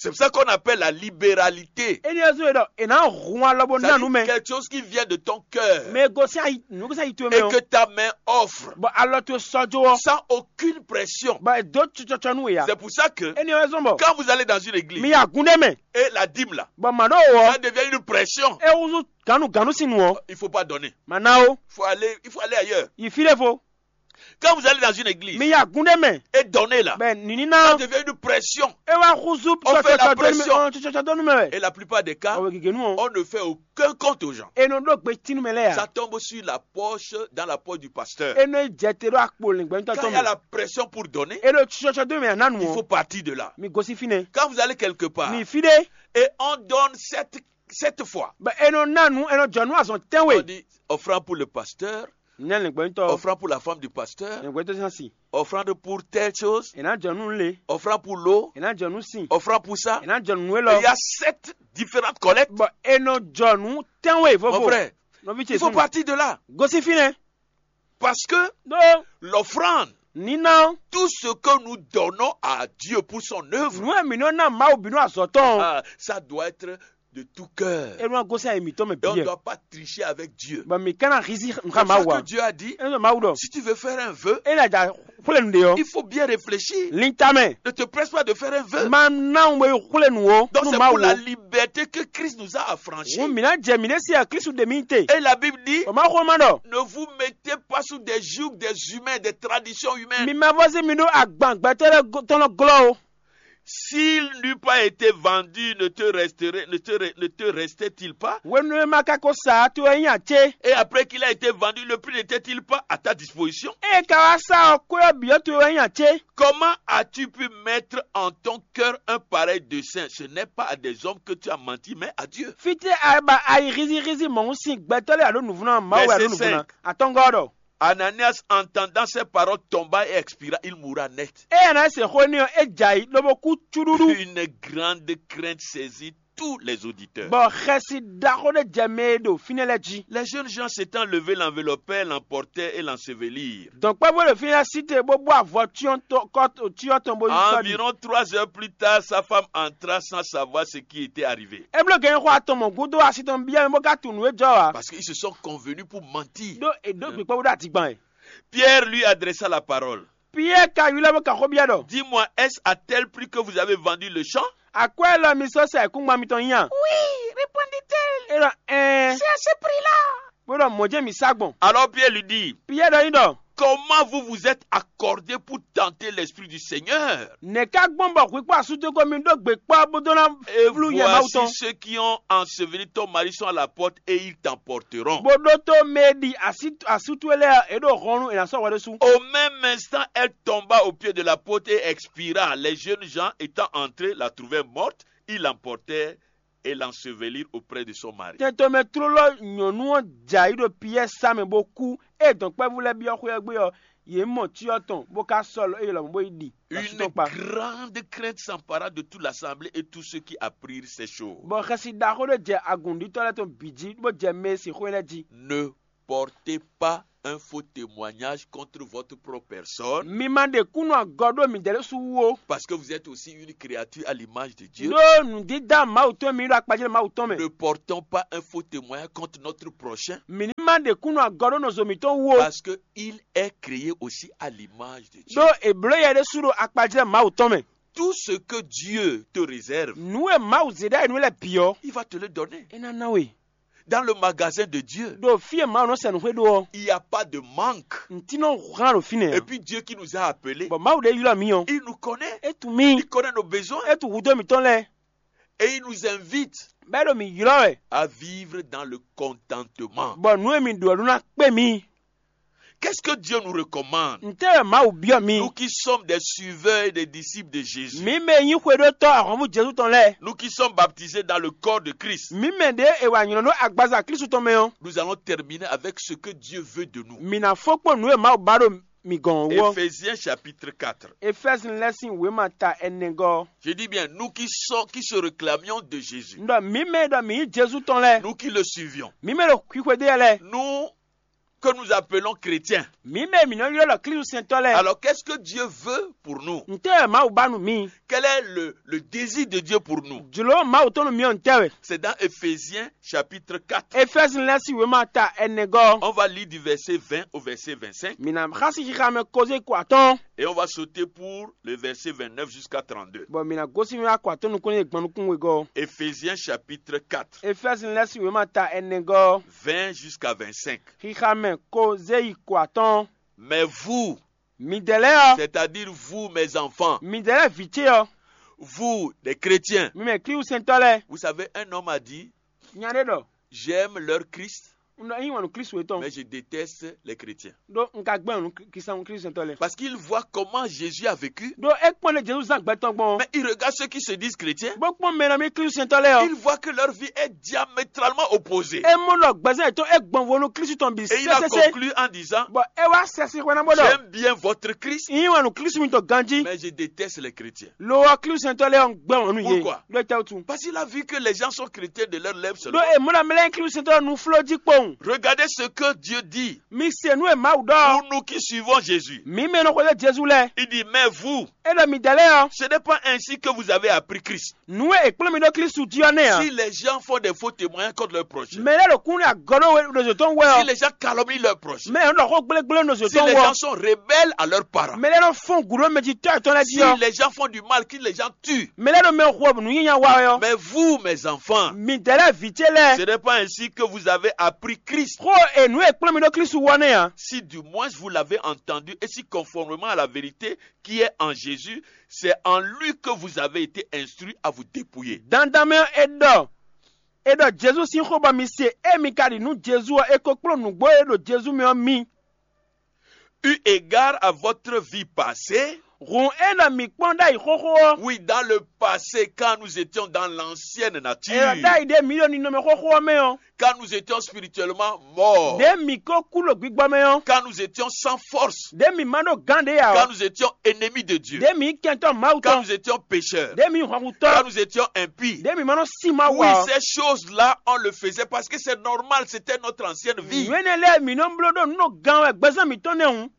C'est pour ça qu'on appelle la libéralité. Énɛ́ ɔ́ zɔ́n e ɖɔ è nǎ hun alɔ bó ná nǔ C'est-à-dire mɛ. Quelque chose qui vient de ton cœur, Mɛ e gosín ayi nǔ gosín ayi towe mɛ et ɔ́, que ta main offre bɔ alɔ towe sɔ́ jó ɔ́, sans aucune pression. Bɔ è dó tsɔtsɔtsɔ nú we ǎ. C'est pour ça que Énɛ́ ɔ́ zɔ́n bɔ quand vous allez dans une église mi yi agun ɖé mɛ, et la dîme là, bɔ mǎ ɖó wò ça ɔ́, devient une pression. é húzú gǎnugǎnu sín nǔ ɔ́, Il ne faut pas donner. Mǎ ná ó, Il faut aller, il faut aller ailleurs. yi fí ɖé vo. Quand vous allez dans une église Mi yi agun ɖé mɛ, et donner là, bɔ nǐní ná ça ɔ́, devient une pression. é wá húzú On fait la tsɔtsɔtsɔ dó nú mɛ pression. ɔ́, tsɔtsɔtsɔ dó nú mɛ wɛ. Et la plupart des cas, Ɔwɛ gěgé nú ɔ́, on ne fait aucun compte aux gens. è nɔ ɖó gbe tínú mɛ lɛ́ɛ Ça ǎ. Tombe sur la poche, dans la poche du pasteur. É nɔ yi jɛ te ɖó akpo lɛ̌ngbɛ́ntɔ́ Quand tɔn il y a mɛ. la pression pour donner, É ɖo tsɔtsɔ dó mɛ ná nu il faut ɔ́, partir de là. mi gosín fínɛ́. Quand vous allez quelque part Mi fí ɖé, et on donne cette, cette fois, bɔ è nɔ ná nu, è nɔ jɔ nú azɔn on tɛ́nwe. Dit offrande pour le pasteur, Nya lɛ̌ngbɛ́ntɔ́, offrande pour la femme du pasteur, lɛ̌ngbɛ́ntɔ́ sín asi, offrande pour telle chose, è nǎ jɔ nú le, offrande pour l'eau, è nǎ jɔ nú sin, offrande pour ça. è nǎ jɔ nú nú Et il élɔ́. y a sept différentes collectes. Bɔ è nɔ jɔ nú tɛ́nwe Mon vovo. Frère, Nɔví ce il faut sunu, partir de là. Gosín fínɛ́. Parce que Ɖó l'offrande, níná ɔ́, tout ce que nous donnons à Dieu pour son œuvre, nǔ e mǐ nɔ ná Mawu bǐ nú azɔ̌ tɔn ɔ́, ah, ça doit être de tout cœur. é nɔ gosín ayi mǐtɔn mɛ Et on ne bǐ. Doit pas tricher avec Dieu. Bɔ mǐ ka ná hízí C'est nǔxa pour Mawu ça ǎ. Que Dieu a dit, É nɔ Mawu ɖɔ, si tu veux faire un vœu, é ná ja xwlé nǔɖé ɔ́, il faut bien réfléchir. Linta mɛ. Ne te presse pas de faire un vœu. Ma ná wɛ xwlé nǔ ó Donc nú c'est Mawu pour la ó. Liberté que Christ nous a affranchis. Ŋu mǐ ná jɛ mǐ ɖésú Klísu ɖe mì te. Et la Bible dit, Bɔ Mawu xó ma ɖɔ, ne vous mettez pas sous des jougs des humains, des traditions humaines. Mi ma vɔ́ sí mi ɖó agban gbɛtɔ́ lɛ́ɛ go- tɔn nɔ glɔ́ ó. S'il n'eût pas été vendu, ne te resterait, ne te, re- ne te restait-il pas? Hwenu e ma ka ko sa ǎ, towe wɛ nyí acé. Et après qu'il a été vendu, le prix n'était-il pas à ta disposition? Ée ka wá sa ɔ́, kwé ɔ́ bǐ ɔ́ towe wɛ nyí acé. Comment as-tu pu mettre en ton cœur un pareil dessein? Ce n'est pas à des hommes que tu as menti, mais à Dieu. Fítɛ́ a ba ayi hízíhízí mɔ̌hun sín gbɛtɔ́ lɛ́ɛ alo nǔvlɔ́ Mawu alo Verset nǔvlɔ́ cinq. Atɔ́ngɔ́ ɔ́ ɖɔ. Ananias, entendant ces paroles, tomba et expira. Il mourut net. Eye Anayɛsi xo énɛ́ ɔ́, é jɛ ayǐ lobo kú cúɖúɖú. Une grande crainte saisit tous les auditeurs. Bɔ xɛsi ɖaxó ɖé jɛ mɛ e ɖo fínɛ́ lɛ́ɛ jí. Les jeunes gens s'étant levés, l'enveloppaient, l'emportaient et l'ensevelirent. Dɔ̌nkpɛvú e ɖo fínɛ́ lɛ́ɛ sí te bó bú avɔ cyɔ tɔn bó yi sɔ́ ɖi. Environ trois heures plus tard, sa femme entra sans savoir ce qui était arrivé. É bló gɛ̌n xó atɔn mɔ̌ gúdo asi tɔn byɔ́ mɛ bó ka tunwun nǔ e jɔ ǎ. Parce qu'ils se sont convenus pour mentir. Ɖó è ɖó gbǐkpɔ́ bó ɖo adigban ɛ. Pierre lui adressa la parole. Piyɛ́ɛ ka ylɔ́ bó ka xó byɔ́ ɖɔ. Dis-moi, est-ce à tel prix que vous avez vendu le champ? Akwɛ́ élɔ́ mi sɔ́ sa ayǐkúngban mitɔn nyi a? Oui, répondit-elle. É ɖɔ ɛɛn. C'est à ce prix-là. Bó ɖɔ mɔ̌ jɛ́n mǐ sa gbɔn. Alors Pierre lui dit, Piyɛ́ɛ ɖɔ nyi ɖɔ. Comment vous vous êtes accordé pour tenter l'Esprit du Seigneur? Nɛ̌ ká gbɔn bɔ hwǐkpɔ́ asútɔ́ ko mi ɖó gbe kpɔ́ bó dó ná Et vlú yɛ Mawu voici tɔn. Ceux qui ont enseveli ton mari sont à la porte et ils t'emporteront. Bó ɖótó mɛ e ɖi asú- asú towe lɛ́ɛ ɔ́, è ɖo hɔnnu è nǎ sɔ́ hwɛ ɖésú. Au même instant, elle tomba au pied de la porte et expira. Les jeunes gens étant entrés, la trouvèrent morte, ils l'emportèrent et l'ensevelirent auprès de son mari. Tɛntomɛ tlóló nyɔ̌nu ɔ́ jɛ ayǐ ɖo Piyɛ́ɛ sá mɛ bó kú. Ée dɔ̌nkpɛvú lɛ́ɛ byɔ́ xwé ɔ́ gbé ɔ́, yě mɔ cyɔ tɔn bó ká sɔ́ lɔ éyɛ́ lɔmɔ̌ bó yi ɖi asú Une tɔn kpa. Grande crainte s'empara de toute l'assemblée et tous ceux qui apprirent ces choses. Bɔ xɛsi ɖaxó ɖé jɛ agǔnɖítɔ́ lɛ́ɛ tɔn bǐ jí bó jɛ mɛ e se xó lɛ́ɛ jí. Ne portez pas un faux témoignage contre votre propre personne, Mi ma ɖe kúnnu agɔ ɖó midɛɛ ɖésú wú ó. Parce que vous êtes aussi une créature à l'image de Dieu. Ɖó nǔdídá Mawu tɔn mi ɖo akpajlɛ́ Mawu tɔn mɛ. Ne portons pas un faux témoignage contre notre prochain, Mi ní ma ɖe kúnnu agɔ ɖó nɔzo mǐtɔn wú ó. Parce qu'il est créé aussi à l'image de Dieu. Ɖó è blǒ yɛ ɖésú ɖo akpajlɛ́ Mawu tɔn mɛ. Tout ce que Dieu te réserve, Nǔ e Mawu zě ɖ'ayǐ nú we lɛ́ɛ bǐ ɔ́, il va te le donner. É ná ná we. Dans le magasin de Dieu. Ɖo fí e Mawu nɔ sɛ nǔ xwé ɖó ɔ́, Il n'y a pas de manque. ntí nɔ hán ɖo fínɛ́ Et ǎ. Puis Dieu qui nous a appelés, Bɔ Mawu ɖé ylɔ́ mǐ ɔ́, il nous connaît. É tunwun mì. Il connaît nos besoins. É tunwun hudó mǐtɔn lɛ́ɛ. Et il nous invite Bɔ é ɖo mǐ ylɔ́ wɛ. À vivre dans le contentement. Bɔ nǔ e mi ɖu ɔ́ ɖó ná kpé mi. Qu'est-ce que Dieu nous recommande? Ntɛ́ wɛ Mawu byɔ́ mi? Nous qui sommes des suiveurs et des disciples de Jésus. Mǐ mɛ e nyí xwedótɔ́ ahwanvú Jezu tɔn lɛ́ɛ. Nous qui sommes baptisés dans le corps de Christ. Mǐ mɛ ɖě è wa nylɔ́ ɖó agbaza Klísu tɔn mɛ ɔ́. Nous allons terminer avec ce que Dieu veut de nous. Mǐ ná fó kpó nǔ e Mawu ba ɖo mi gɔn ɔ́ wú ɔ́. Éphésiens chapitre quatre. Efɛ́zinu lɛ́ɛ sín wěma ta ɛnɛgɔ́ ɔ́. Je dis bien, nous qui, sommes, qui se réclamions de Jésus, Un ɖɔ mǐ mɛ e ɖɔ mǐ nyí Jezu tɔn lɛ́ɛ, nous qui le suivions, mǐ mɛ e ɖo xwixwe ɖe lɛ́ɛ, nous que nous appelons chrétiens. Mǐ mɛ e mǐ nɔ ylɔ́ ɖɔ Klísusɛntɔ́ lɛ́ɛ. Alors, qu'est-ce que Dieu veut pour nous? Ntɛ́ wɛ Mawu ba nú mǐ? Quel est le, le désir de Dieu pour nous? Jlǒ Mawu tɔn nú mǐ ɔ́ ntɛ́ wɛ? C'est dans Éphésiens chapitre quatre. Efɛ́zinu lɛ́ɛ sín wěma ta ɛnɛgɔ́ ɔ́. On va lire du verset vingt au verset vingt-cinq. Mǐ ná xá sín xixa mɛ kozé ko atɔ́ɔ́n, Et on va sauter pour le verset vingt-neuf jusqu'à trente-deux. Bɔ mǐ ná gosín wá ko atɔ́ɔ́n nukún e gbɔn nukún wegɔ́ ɔ́. Éphésiens chapitre quatre. Efɛ́zinu lɛ́ɛ sín wěma ta ɛnɛgɔ́ ɔ́. Vingt jusqu'à vingt-cinq. Xixa mɛ kozé yi ko atɔ́ɔ́n. Mais vous, Midɛɛ lɛ́ɛ ɔ́, c'est-à-dire vous, mes enfants, midɛɛ lɛ́ɛ vǐ ce ɔ́, vous, les chrétiens, mi mɛ Klísusɛntɔ́ lɛ́ɛ, vous savez, un homme a dit, nya ɖé ɖɔ, j'aime leur Christ, un ɖɔ yín wɛn nɔ Klísu yětɔn, mais je déteste les chrétiens. Ɖó un ka gbɛn nǔ Klísu Klísusɛntɔ́ lɛ́ɛ. Parce qu'il voit comment Jésus a vécu. Ɖó é kpɔ́n lé Jezu zán gbɛ tɔn gbɔn. Mais il regarde ceux qui se disent chrétiens. Bó kpɔ́n mɛ nɔ mì Klísusɛntɔ́ lɛ́ɛ ɔ́. Il voit que leur vie est diamétralement opposée. É mɔ ɖɔ gbɛzán yětɔn é gbɔn vo nú Klísu tɔn bǐ Et il a sésésé. Conclu en disant, Bɔ é wá sɛ sín xwé ná bó ɖɔ, j'aime bien votre Christ, yín wɛn nɔ Klísu mitɔn ganjí. Mais je déteste les chrétiens. Lo ɔ́ Klísusɛntɔ́ lɛ́ɛ ɔ́ gbɛ́ wɔn nú yě. Pourquoi? Ɖó é tɛ́ wútu. Parce qu'il a vu que les gens sont chrétiens de leurs lèvres Ɖó seulement. É mɔ ɖɔ mɛ lɛ́ɛ nyí Klísusɛntɔ́ nú fló jí kpowun. Regardez ce que Dieu dit. Mi se nú e Mawu ɖɔ. Pour nous qui suivons Jésus. Mi mɛ nɔ xwedó Jezu lɛ́ɛ. Il dit, mais vous, É ɖɔ mi dɛ̌ lɛ́ɛ ɔ́. Ce n'est pas ainsi que vous avez appris Christ. Nǔ e è kplɔ́n mi ɖó Klísu jí ɔ́ nɛ́ ǎ. Si les gens font des faux témoignages contre leur prochain, Mɛ lɛ́ɛ ɖo kún ní agɔ ɖó we ɖo zǒ tɔn wɛ si ɔ́. Les gens calomnient leur prochain, Mɛ lɛ́ɛ nɔ xó gblégblé ɖo zǒ Si tɔn les wɛ gens ɔ́. Sont rebelles à leurs parents, Mɛ lɛ́ɛ nɔ fɔ́n gǔ ɖó mɛ jí tɔ́ yětɔn lɛ́ɛ jí Si ɔ́. Les gens font du mal, qu'ils les gens tuent. Mɛ lɛ́ɛ ɖo mɛ hu ɔ́ nǔ nyanya wa wɛ ɔ́. Mais vous, mes enfants, Mi dɛ̌ lɛ́ɛ vǐ ce lɛ́ɛ. Ce n'est pas ainsi que vous avez appris Christ. Xó e nǔ e kplɔ́n mi ɖó Klísu wɔ nɛ́ ǎ. Si du moins vous l'avez entendu et si conformément à la vérité qui est en Jésus, c'est en lui que vous avez été instruits à vous dépouiller. Dandan mɛ ɔ́, è ɖɔ è ɖɔ Jezu sín xó bɔ mi se, ée mi ka ɖi nú Jezu ɔ́, è ko kplɔ́n nǔgbó e ɖo Jezu mɛ ɔ́ mi. Eu égard à votre vie passée, Hǔn é ɖɔ mǐ kpɔ́n ɖ'ayǐ xóxó ɔ́. Oui, dans le passé, quand nous étions dans l'ancienne È ɖɔ nature, ɖ'ayǐ ɖé mǐ ɖo ninɔmɛ xóxó ɔ́ mɛ ɔ́. Quand nous étions spirituellement morts, Ɖě mǐ ko kú ɖo gbígbɔ mɛ ɔ́. Quand nous étions sans force, Ɖě mǐ ma ɖo gán ɖě ǎ Quand ɔ́. Nous étions ennemis de Dieu, Ɖě mǐ nyí kɛntɔ́ Mawu Quand tɔn. Nous étions pécheurs, Ɖě mǐ nyí hwanhutɔ́. Quand nous étions impies, Ɖě mǐ ma nɔ sí Mawu Oui, ǎ ɔ́. Ces choses-là, on le faisait parce que c'est normal, c'était notre ancienne vie. Nǔ énɛ́ lɛ́ɛ mǐ nɔ bló ɖó nǔ ɖo gán wɛ gbɛzán mǐtɔn nɛ́ hǔn.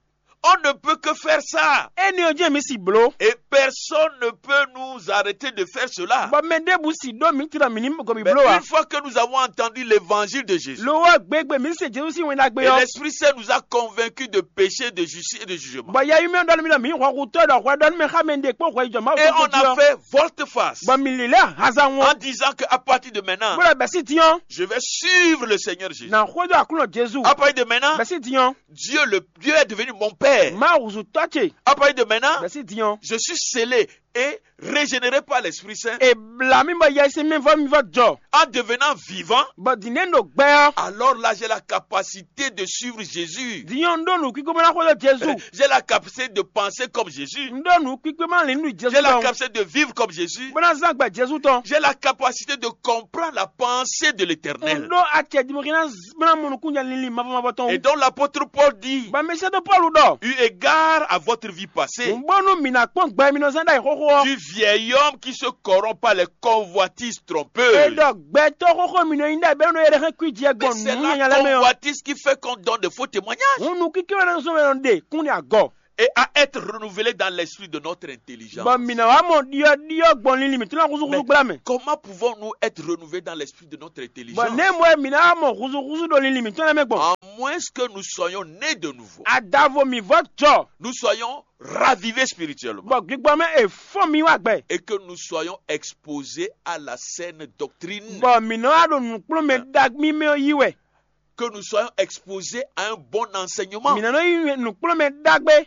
On ne peut que faire ça. Énɛ́ ɔ́ jɛ́n mǐ si bló. Et personne ne peut nous arrêter de faire cela. Bɔ mɛ ɖěbǔ si ɖó mǐ tlɔ mǐ ní gɔn mǐ Mais bló ǎ. Une fois que nous avons entendu l'évangile de Jésus, Lo ɔ́ gbégbé mǐ se Jezu sín wɛn ɖagbe Et ɔ́. L'Esprit Saint nous a convaincus de péché, de justice et de jugement. Bɔ yɛyi mɛ ɖɔ nú mì ɖɔ mǐ hwanhutɔ́ ɖɔ hwɛ ɖɔ nú mɛ xá mɛ ɖe kpó hwɛ jɔ Mawu Et on a fait volte-face Bɔ mǐ lilɛ hanza ŋɔ. En disant qu'à partir de maintenant, Bó ɖɔ bɛ̌ sí dín ɔ́. Je vais suivre le Seigneur Jésus. Nà xwedó Aklúnɔ Jezu. À partir de maintenant, Bɛ̌ sí dín ɔ́. Dieu, le, Dieu est devenu mon père. Mawu zu tɔ́ ce. À partir de maintenant, Bɛ̌ sí dín ɔ́. Je suis scellé et régénéré par l'Esprit Saint. È blǎ mì bɔ yɛsinsɛn mì vɔ mì vɔ jɔ. En devenant vivant, Bɔ dǐndé ɖo gbɛ ɔ́. Alors là, j'ai la capacité de suivre Jésus. Dín ɔ́ un ɖó nǔkíkó bó ná xwedó Jezu. J'ai la capacité de penser comme Jésus. Un ɖó nǔkíkó bó ná lin nú Jezu J'ai la tɔn. Capacité de vivre comme Jésus. Bó ná zán gbɛ Jezu tɔn. J'ai la capacité de comprendre la pensée de Un l'Éternel. ɖó acɛ dimɔxi ná bó ná mɔ nukúnjɛ linlin mavɔ mavɔ tɔn. Et donc l'apôtre Paul dit, Bɔ mɛ sɛ́dó Pɔ́lu ɖɔ. Eu égard à votre vie passée, Un bó nú mǐ ná kpɔ́n gbɛ mì nɔ zán ɖ'ayǐ xóxó ɔ́. Du vieil homme qui se corrompt par les convoitises É trompeuses. Ɖɔ gbɛtɔ́ xóxó mì nɔ nyí ɖɛ bɛ́ nɔ yɛ ɖe xɛ kwíji ɛ Mais gbɔn c'est nǔ la nyanya lɛ́ɛ mɛ ɔ́. Convoitise qui fait qu'on donne des faux témoignages. Hun nukíké wɛ nɔ zɔn wɛ nɔ ɖe kún ní agɔ. Et à être renouvelé dans l'esprit de notre intelligence. Bɔ mǐ ná wá mɔ ɖiɔɖiɔ gbɔn linlin mǐtɔn ná húzúhúzú gbla mɛ. Comment pouvons-nous être renouvelés dans l'esprit de notre Bɔ intelligence? Nɛ́ mɔ wɛ mǐ ná wá mɔ húzúhúzú ɖo linlin mǐtɔn lɛ́ɛ mɛ gbɔn. À moins que nous soyons nés de nouveau, Adavo mǐ vɔ jɔ. Nous soyons ravivés spirituellement. Bɔ gbígbɔ mɛ è fɔ́n mǐ wá gbɛ. Et que nous soyons exposés à la saine doctrine. Bɔ mǐ nɔ wá ɖo nǔkplɔ́nmɛ ɖagbe mɛ ɔ́ yí wɛ. Que nous soyons exposés à un bon enseignement. Mǐ ná nɔ yí nǔkplɔ́nmɛ ɖagbe.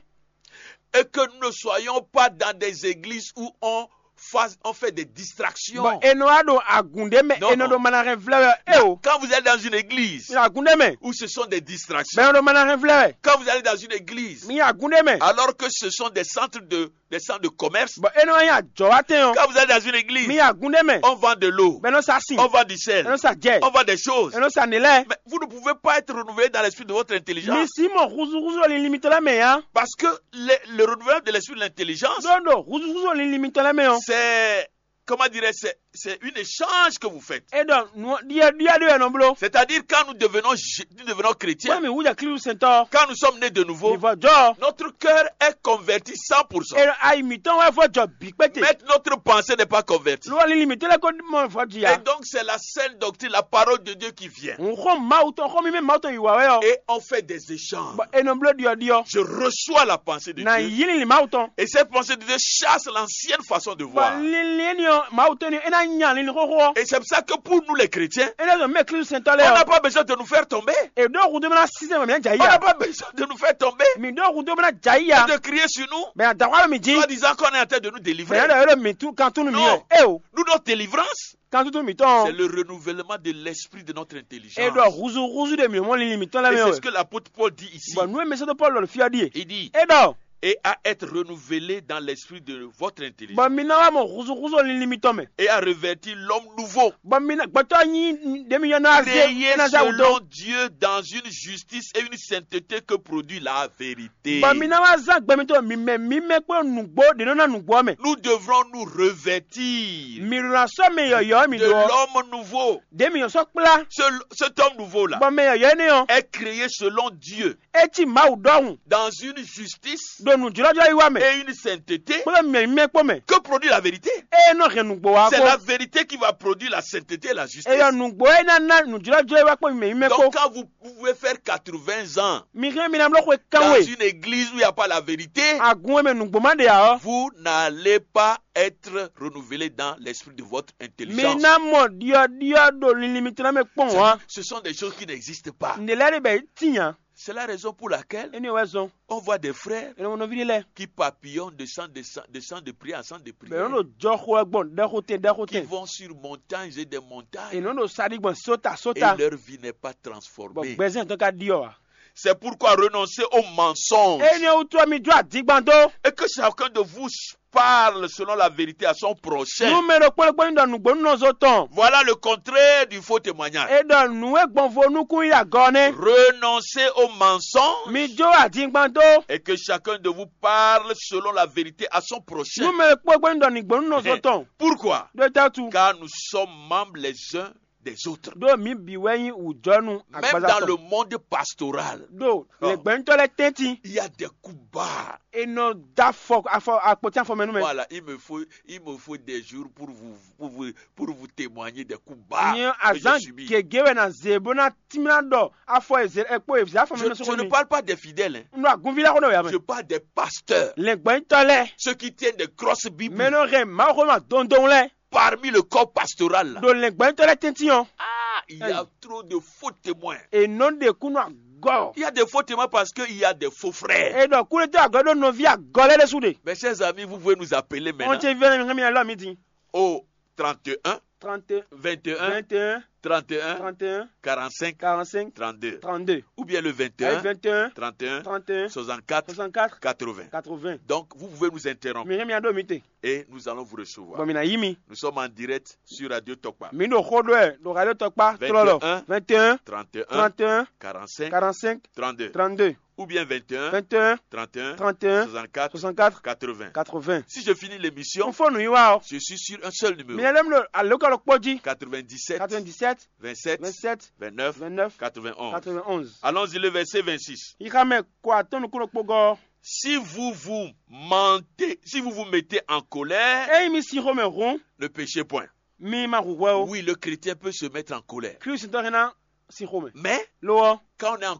Et que nous ne soyons pas dans des églises où on, fasse, on fait des distractions. Bɔ è nɔ wá ɖo agǔn ɖé mɛ Non. È nɔ ɖo manahɛn vlɛ́ wɛ ɔ́. É o. Quand vous êtes dans une église Mi ɖo agǔn ɖé mɛ. Où ce sont des Bɔ distractions, è nɔ ɖo manahɛn vlɛ́ wɛ. Quand vous allez dans une église Mi ɖo agǔn ɖé mɛ. Alors que ce sont des centres de des centres de commerce. Bɔ é nɔ nyí ajɔ̌wátɛn ɔ́. Quand vous allez dans une église, mi yi agun ɖé mɛ. On vend de l'eau. Bɛ nɔ sa sin. On vend du sel. Bɛ nɔ sa jɛ. On vend des choses. Bɛ nɔ sa nǔ lɛ́ɛ. Mais vous ne pouvez pas être renouvelé dans l'esprit de votre intelligence. Mi si mɔ húzúhúzú linlin mitɔn lɛ́ɛ mɛ ǎ. Parce que le, le renouvellement de l'esprit de l'intelligence, ɖó ɖo húzúhúzú linlin mitɔn lɛ́ɛ mɛ ɔ́. C'est, comment dirais-je, c'est, c'est une échange que vous faites. É ɖɔ nǔ ɖiɛɖiɛ ɖé wɛ nɔ bló. C'est-à-dire quand nous devenons, je- nous devenons chrétiens, Bóyá mi wú jɛ Klísu sɛntɔ́. Quand nous sommes nés de nouveau, Mi vɔ jɔ. Notre cœur est converti cent pour cent. É ayi mǐtɔn wɛ vɔ jɔ bǐ kpéte. Mais notre pensée n'est pas convertie. Ló wɛ linlin mǐtɔn lɛ́ɛ ko mɔ vɔ ji Et ǎ. Donc, c'est la sainte doctrine, la parole de Dieu qui vient. N xɔ Mawu tɔn xɔ mi mɛ Mawu tɔn yi wá wɛ ɔ́. Et on fait des échanges. Bɔ è nɔ bló ɖiɔɖiɔ. Je reçois la pensée de Na Dieu. Yí linlin Mawu tɔn. Et cette pensée de Dieu chasse l'ancienne façon de Bɔ voir. Linlin énɛ́ ɔ́ Mawu tɔn énɛ́ é ná nya linlin xóxó ɔ́. Et c'est pour ça que pour nous les chrétiens, Énɛ́ zɔn mɛ Klísu sɛntɔ́ on lɛ́ɛ n'a ɔ́. Pas besoin de nous faire tomber. È ɖó hudó bɛ́ ná sísɛ́n mɛ mǐ ná jɛ On n'a yíya. Pas besoin de nous faire tomber. Mǐ ɖó hudó bɛ́ ná jɛ yíya. Et de crier sur nous. Bɛ ná da xwá mì jí. Soi-disant qu'on est en train de nous Bɛ délivrer. Ná ɖɔ é ɖo mǐ tú kan túnú mǐ Non. Ɔ́. É o. Nous, notre délivrance, Kan túnú mǐtɔn C'est ɔ́. Le renouvellement de l'esprit de notre intelligence. É ɖɔ huzu huzu ɖe mǐ mɔ linlin mǐtɔn lɛ́ɛ Et mɛ c'est ce wɛ. Que l'apôtre Paul dit ici. Bɔ nǔ e mɛ sɛ́dó Pɔ́lu ɖɔ fí ɔ́ ɖíe. Il dit, É ɖɔ. Et à être renouvelé dans l'esprit de votre intelligence. Bɔ mi ná wá mɔ huzu huzu linlin mitɔn mɛ. Et à revêtir l'homme nouveau. Bɔ mi ná gbɛtɔ́ nyi ɖě mi nyɔ́ ná zé Créé ná zé awu dó. Selon Dieu dans une justice et une sainteté que produit la vérité. Bɔ mi ná wá zán gbɛ mitɔn mimɛ mimɛ kpó nǔgbó ɖě nɔ ná nǔgbó ɔ́ mɛ. Nous devrons nous revêtir Mi ɖo ná sɔ́ mɛ yɔ̌yɔ́ mi de ɖó ɔ́. L'homme nouveau. Ɖě mi nyɔ́ sɔ́ kplá. Ce, cet homme nouveau-là Bɔ mɛ yɔ̌yɔ́ énɛ́ ɔ́. Est créé selon Dieu É cí Mawu ɖɔhun. Dans une justice Ɖo nǔjlɔ́jlɔ́ yi wá mɛ. Et une sainteté Kpódó mimɛ mimɛ kpó mɛ. Que produit la vérité. É nɔ hɛn nǔgbó wá C'est kpó. La vérité qui va produire la sainteté et la justice. Eyɔ nǔgbó é ná ná nǔjlɔ́jlɔ́ yi wá kpó mimɛ mimɛ kpó. Donc quand vous pouvez faire quatre-vingts ans Mi hɛn mi ná bló xwe dans kánwe. Une église où il n'y a pas la vérité, Agun e mɛ nǔgbó má ɖe ǎ ɔ́. Vous n'allez pas être renouvelé dans l'esprit de votre Mi intelligence. Ná mɔ ɖyɔɖyɔ ɖo linlin mitɔn ná mɛ kpɔn ǎ. Ce sont des choses qui n'existent pas. Nǔɖé lɛ́ɛ ɖe bɛ tíin ǎ. C'est la raison pour laquelle Énɛ́ wɛ zɔn. On voit des frères Énɛ́ nɔví ɖé lɛ́ɛ. Qui papillonnent de sang, de sang, de sang de prière en sang de Bɛ prière. Nɔ ɖo jɔxo wɛ gbɔn ɖɛxotɛn Qui ɖɛxotɛn. Vont sur montagnes et des montagnes. È nɔ ɖo saɖi gbɔn sóta Et sóta. Leur vie n'est pas Bɔ transformée. Gbɛzɛn tɔn ka ɖi ɔ́ ǎ. C'est pourquoi renoncez au mensonge. Énɛ́ wútu ɔ́ mi jó adingban dó. Et que chacun de vous parle selon la vérité à son prochain. Nú mɛ ɖokpó ɖokpó ní ɖɔ nǔgbó nú nɔzo tɔn. Voilà le contraire du faux témoignage. É ɖɔ nǔ e gbɔn vo nukún yi agɔ nɛ́. Renoncez au mensonge. Mi jó adingban dó. Et que chacun de vous parle selon la vérité à son prochain. Nú mɛ ɖokpó ɖokpó ní ɖɔ nǔgbó nú nɔzo tɔn. Pourquoi? Ɖó tɛ́tu. Car nous sommes membres les uns des autres. Ɖó mǐ bǐ wɛ nyí wǔjɔnú Même agbaza dans tɔn. Le monde pastoral, Ɖo lɛ̌ngbɛ́nútɔ́ lɛ́ɛ tɛ́ntin. Il y a des coups bas. È nɔ dó afɔ afɔ akpɔtí afɔ mɛ nú mɛ. Voilà, il me faut, il me faut des jours pour vous, pour vous, pour vous témoigner des coups bas Nyɛ que j'ai azán subis. Gěgé wɛ ná zě bó ná tímlá ɖɔ afɔ e zě e kpó e zě afɔ mɛ Je, nɔ je sɔ́ ne mi. Parle pas des fidèles, hein. Un ɖo agunví lɛ́ɛ xó nɔ wɛ ame. Je parle des pasteurs. Lɛ̌ngbɛ́nútɔ́ lɛ́ɛ. Ceux qui tiennent des grosses Bibles. Mɛ nɔ hɛn Mawu xó ma dondon lɛ́ɛ. Parmi le corps pastoral là. Ɖo lɛ̌ngbɛ́nútɔ́ lɛ́ɛ tɛ́ntin ɔ́. Ah, il y a Hey. Trop de faux témoins. È nɔ ɖe kú nɔ agɔ. Il y a des faux témoins parce qu'il y a des faux frères. È ɖɔ kúɖétɔ́ agɔ ɖó nɔví agɔ lɛ́ɛ ɖésú ɖe. Mes chers amis, vous pouvez nous appeler maintenant. Ɔn cɛ vɛn mi hɛn mi alɔ mi din. Au trente et un, trente, vingt et un, vingt et un, trente et un, trente et un, quarante-cinq, quarante-cinq, trente-deux. Trente-deux. Ou bien le vingt et un, vingt et un, trente et un, trente et un, soixante-quatre, soixante-quatre, quatre-vingts. Quatre-vingts. Donc, vous pouvez nous interrompre. Mi hɛn mi aɖo mi te. Et nous allons vous recevoir. Bɔn mi na yí mi. Nous sommes en direct sur Radio Tokpa. Mi ɖo xó ɖɔ ɛ ɖo Radio Tokpa trɔlɔ. Vingt et un, trente et un, trente et un, quarante-cinq, quarante-cinq, trente-deux. Trente-deux. Ou bien vingt et un, vingt et un, trente et un, trente et un, soixante-quatre, soixante-quatre, quatre-vingts. Quatre-vingts. Si je finis l'émission, N fɔ nǔ yi wa ɔ. Je suis sur un seul numéro. Mi lɛm ɖo alokalo kpɔ jí. Quatre-vingt-dix-sept, quatre-vingt-dix-sept, vingt-sept, vingt-sept, vingt-neuf, vingt-neuf, quatre-vingt-onze. Quatre-vingt-onze. Allons-y, le verset vingt-six. Yi xa mɛ kɔ atɔn nukúnnɔ kpogɔ. Si vous vous mentez, si vous vous mettez en colère, Ényí mi sin xomɛ hǔn, ne péchez point. Mi ma hu hwɛ o. Oui, le chrétien peut se mettre en colère. Klísu tɔn hɛn ná sin xomɛ. Mais Lo ɔ́, quand on est en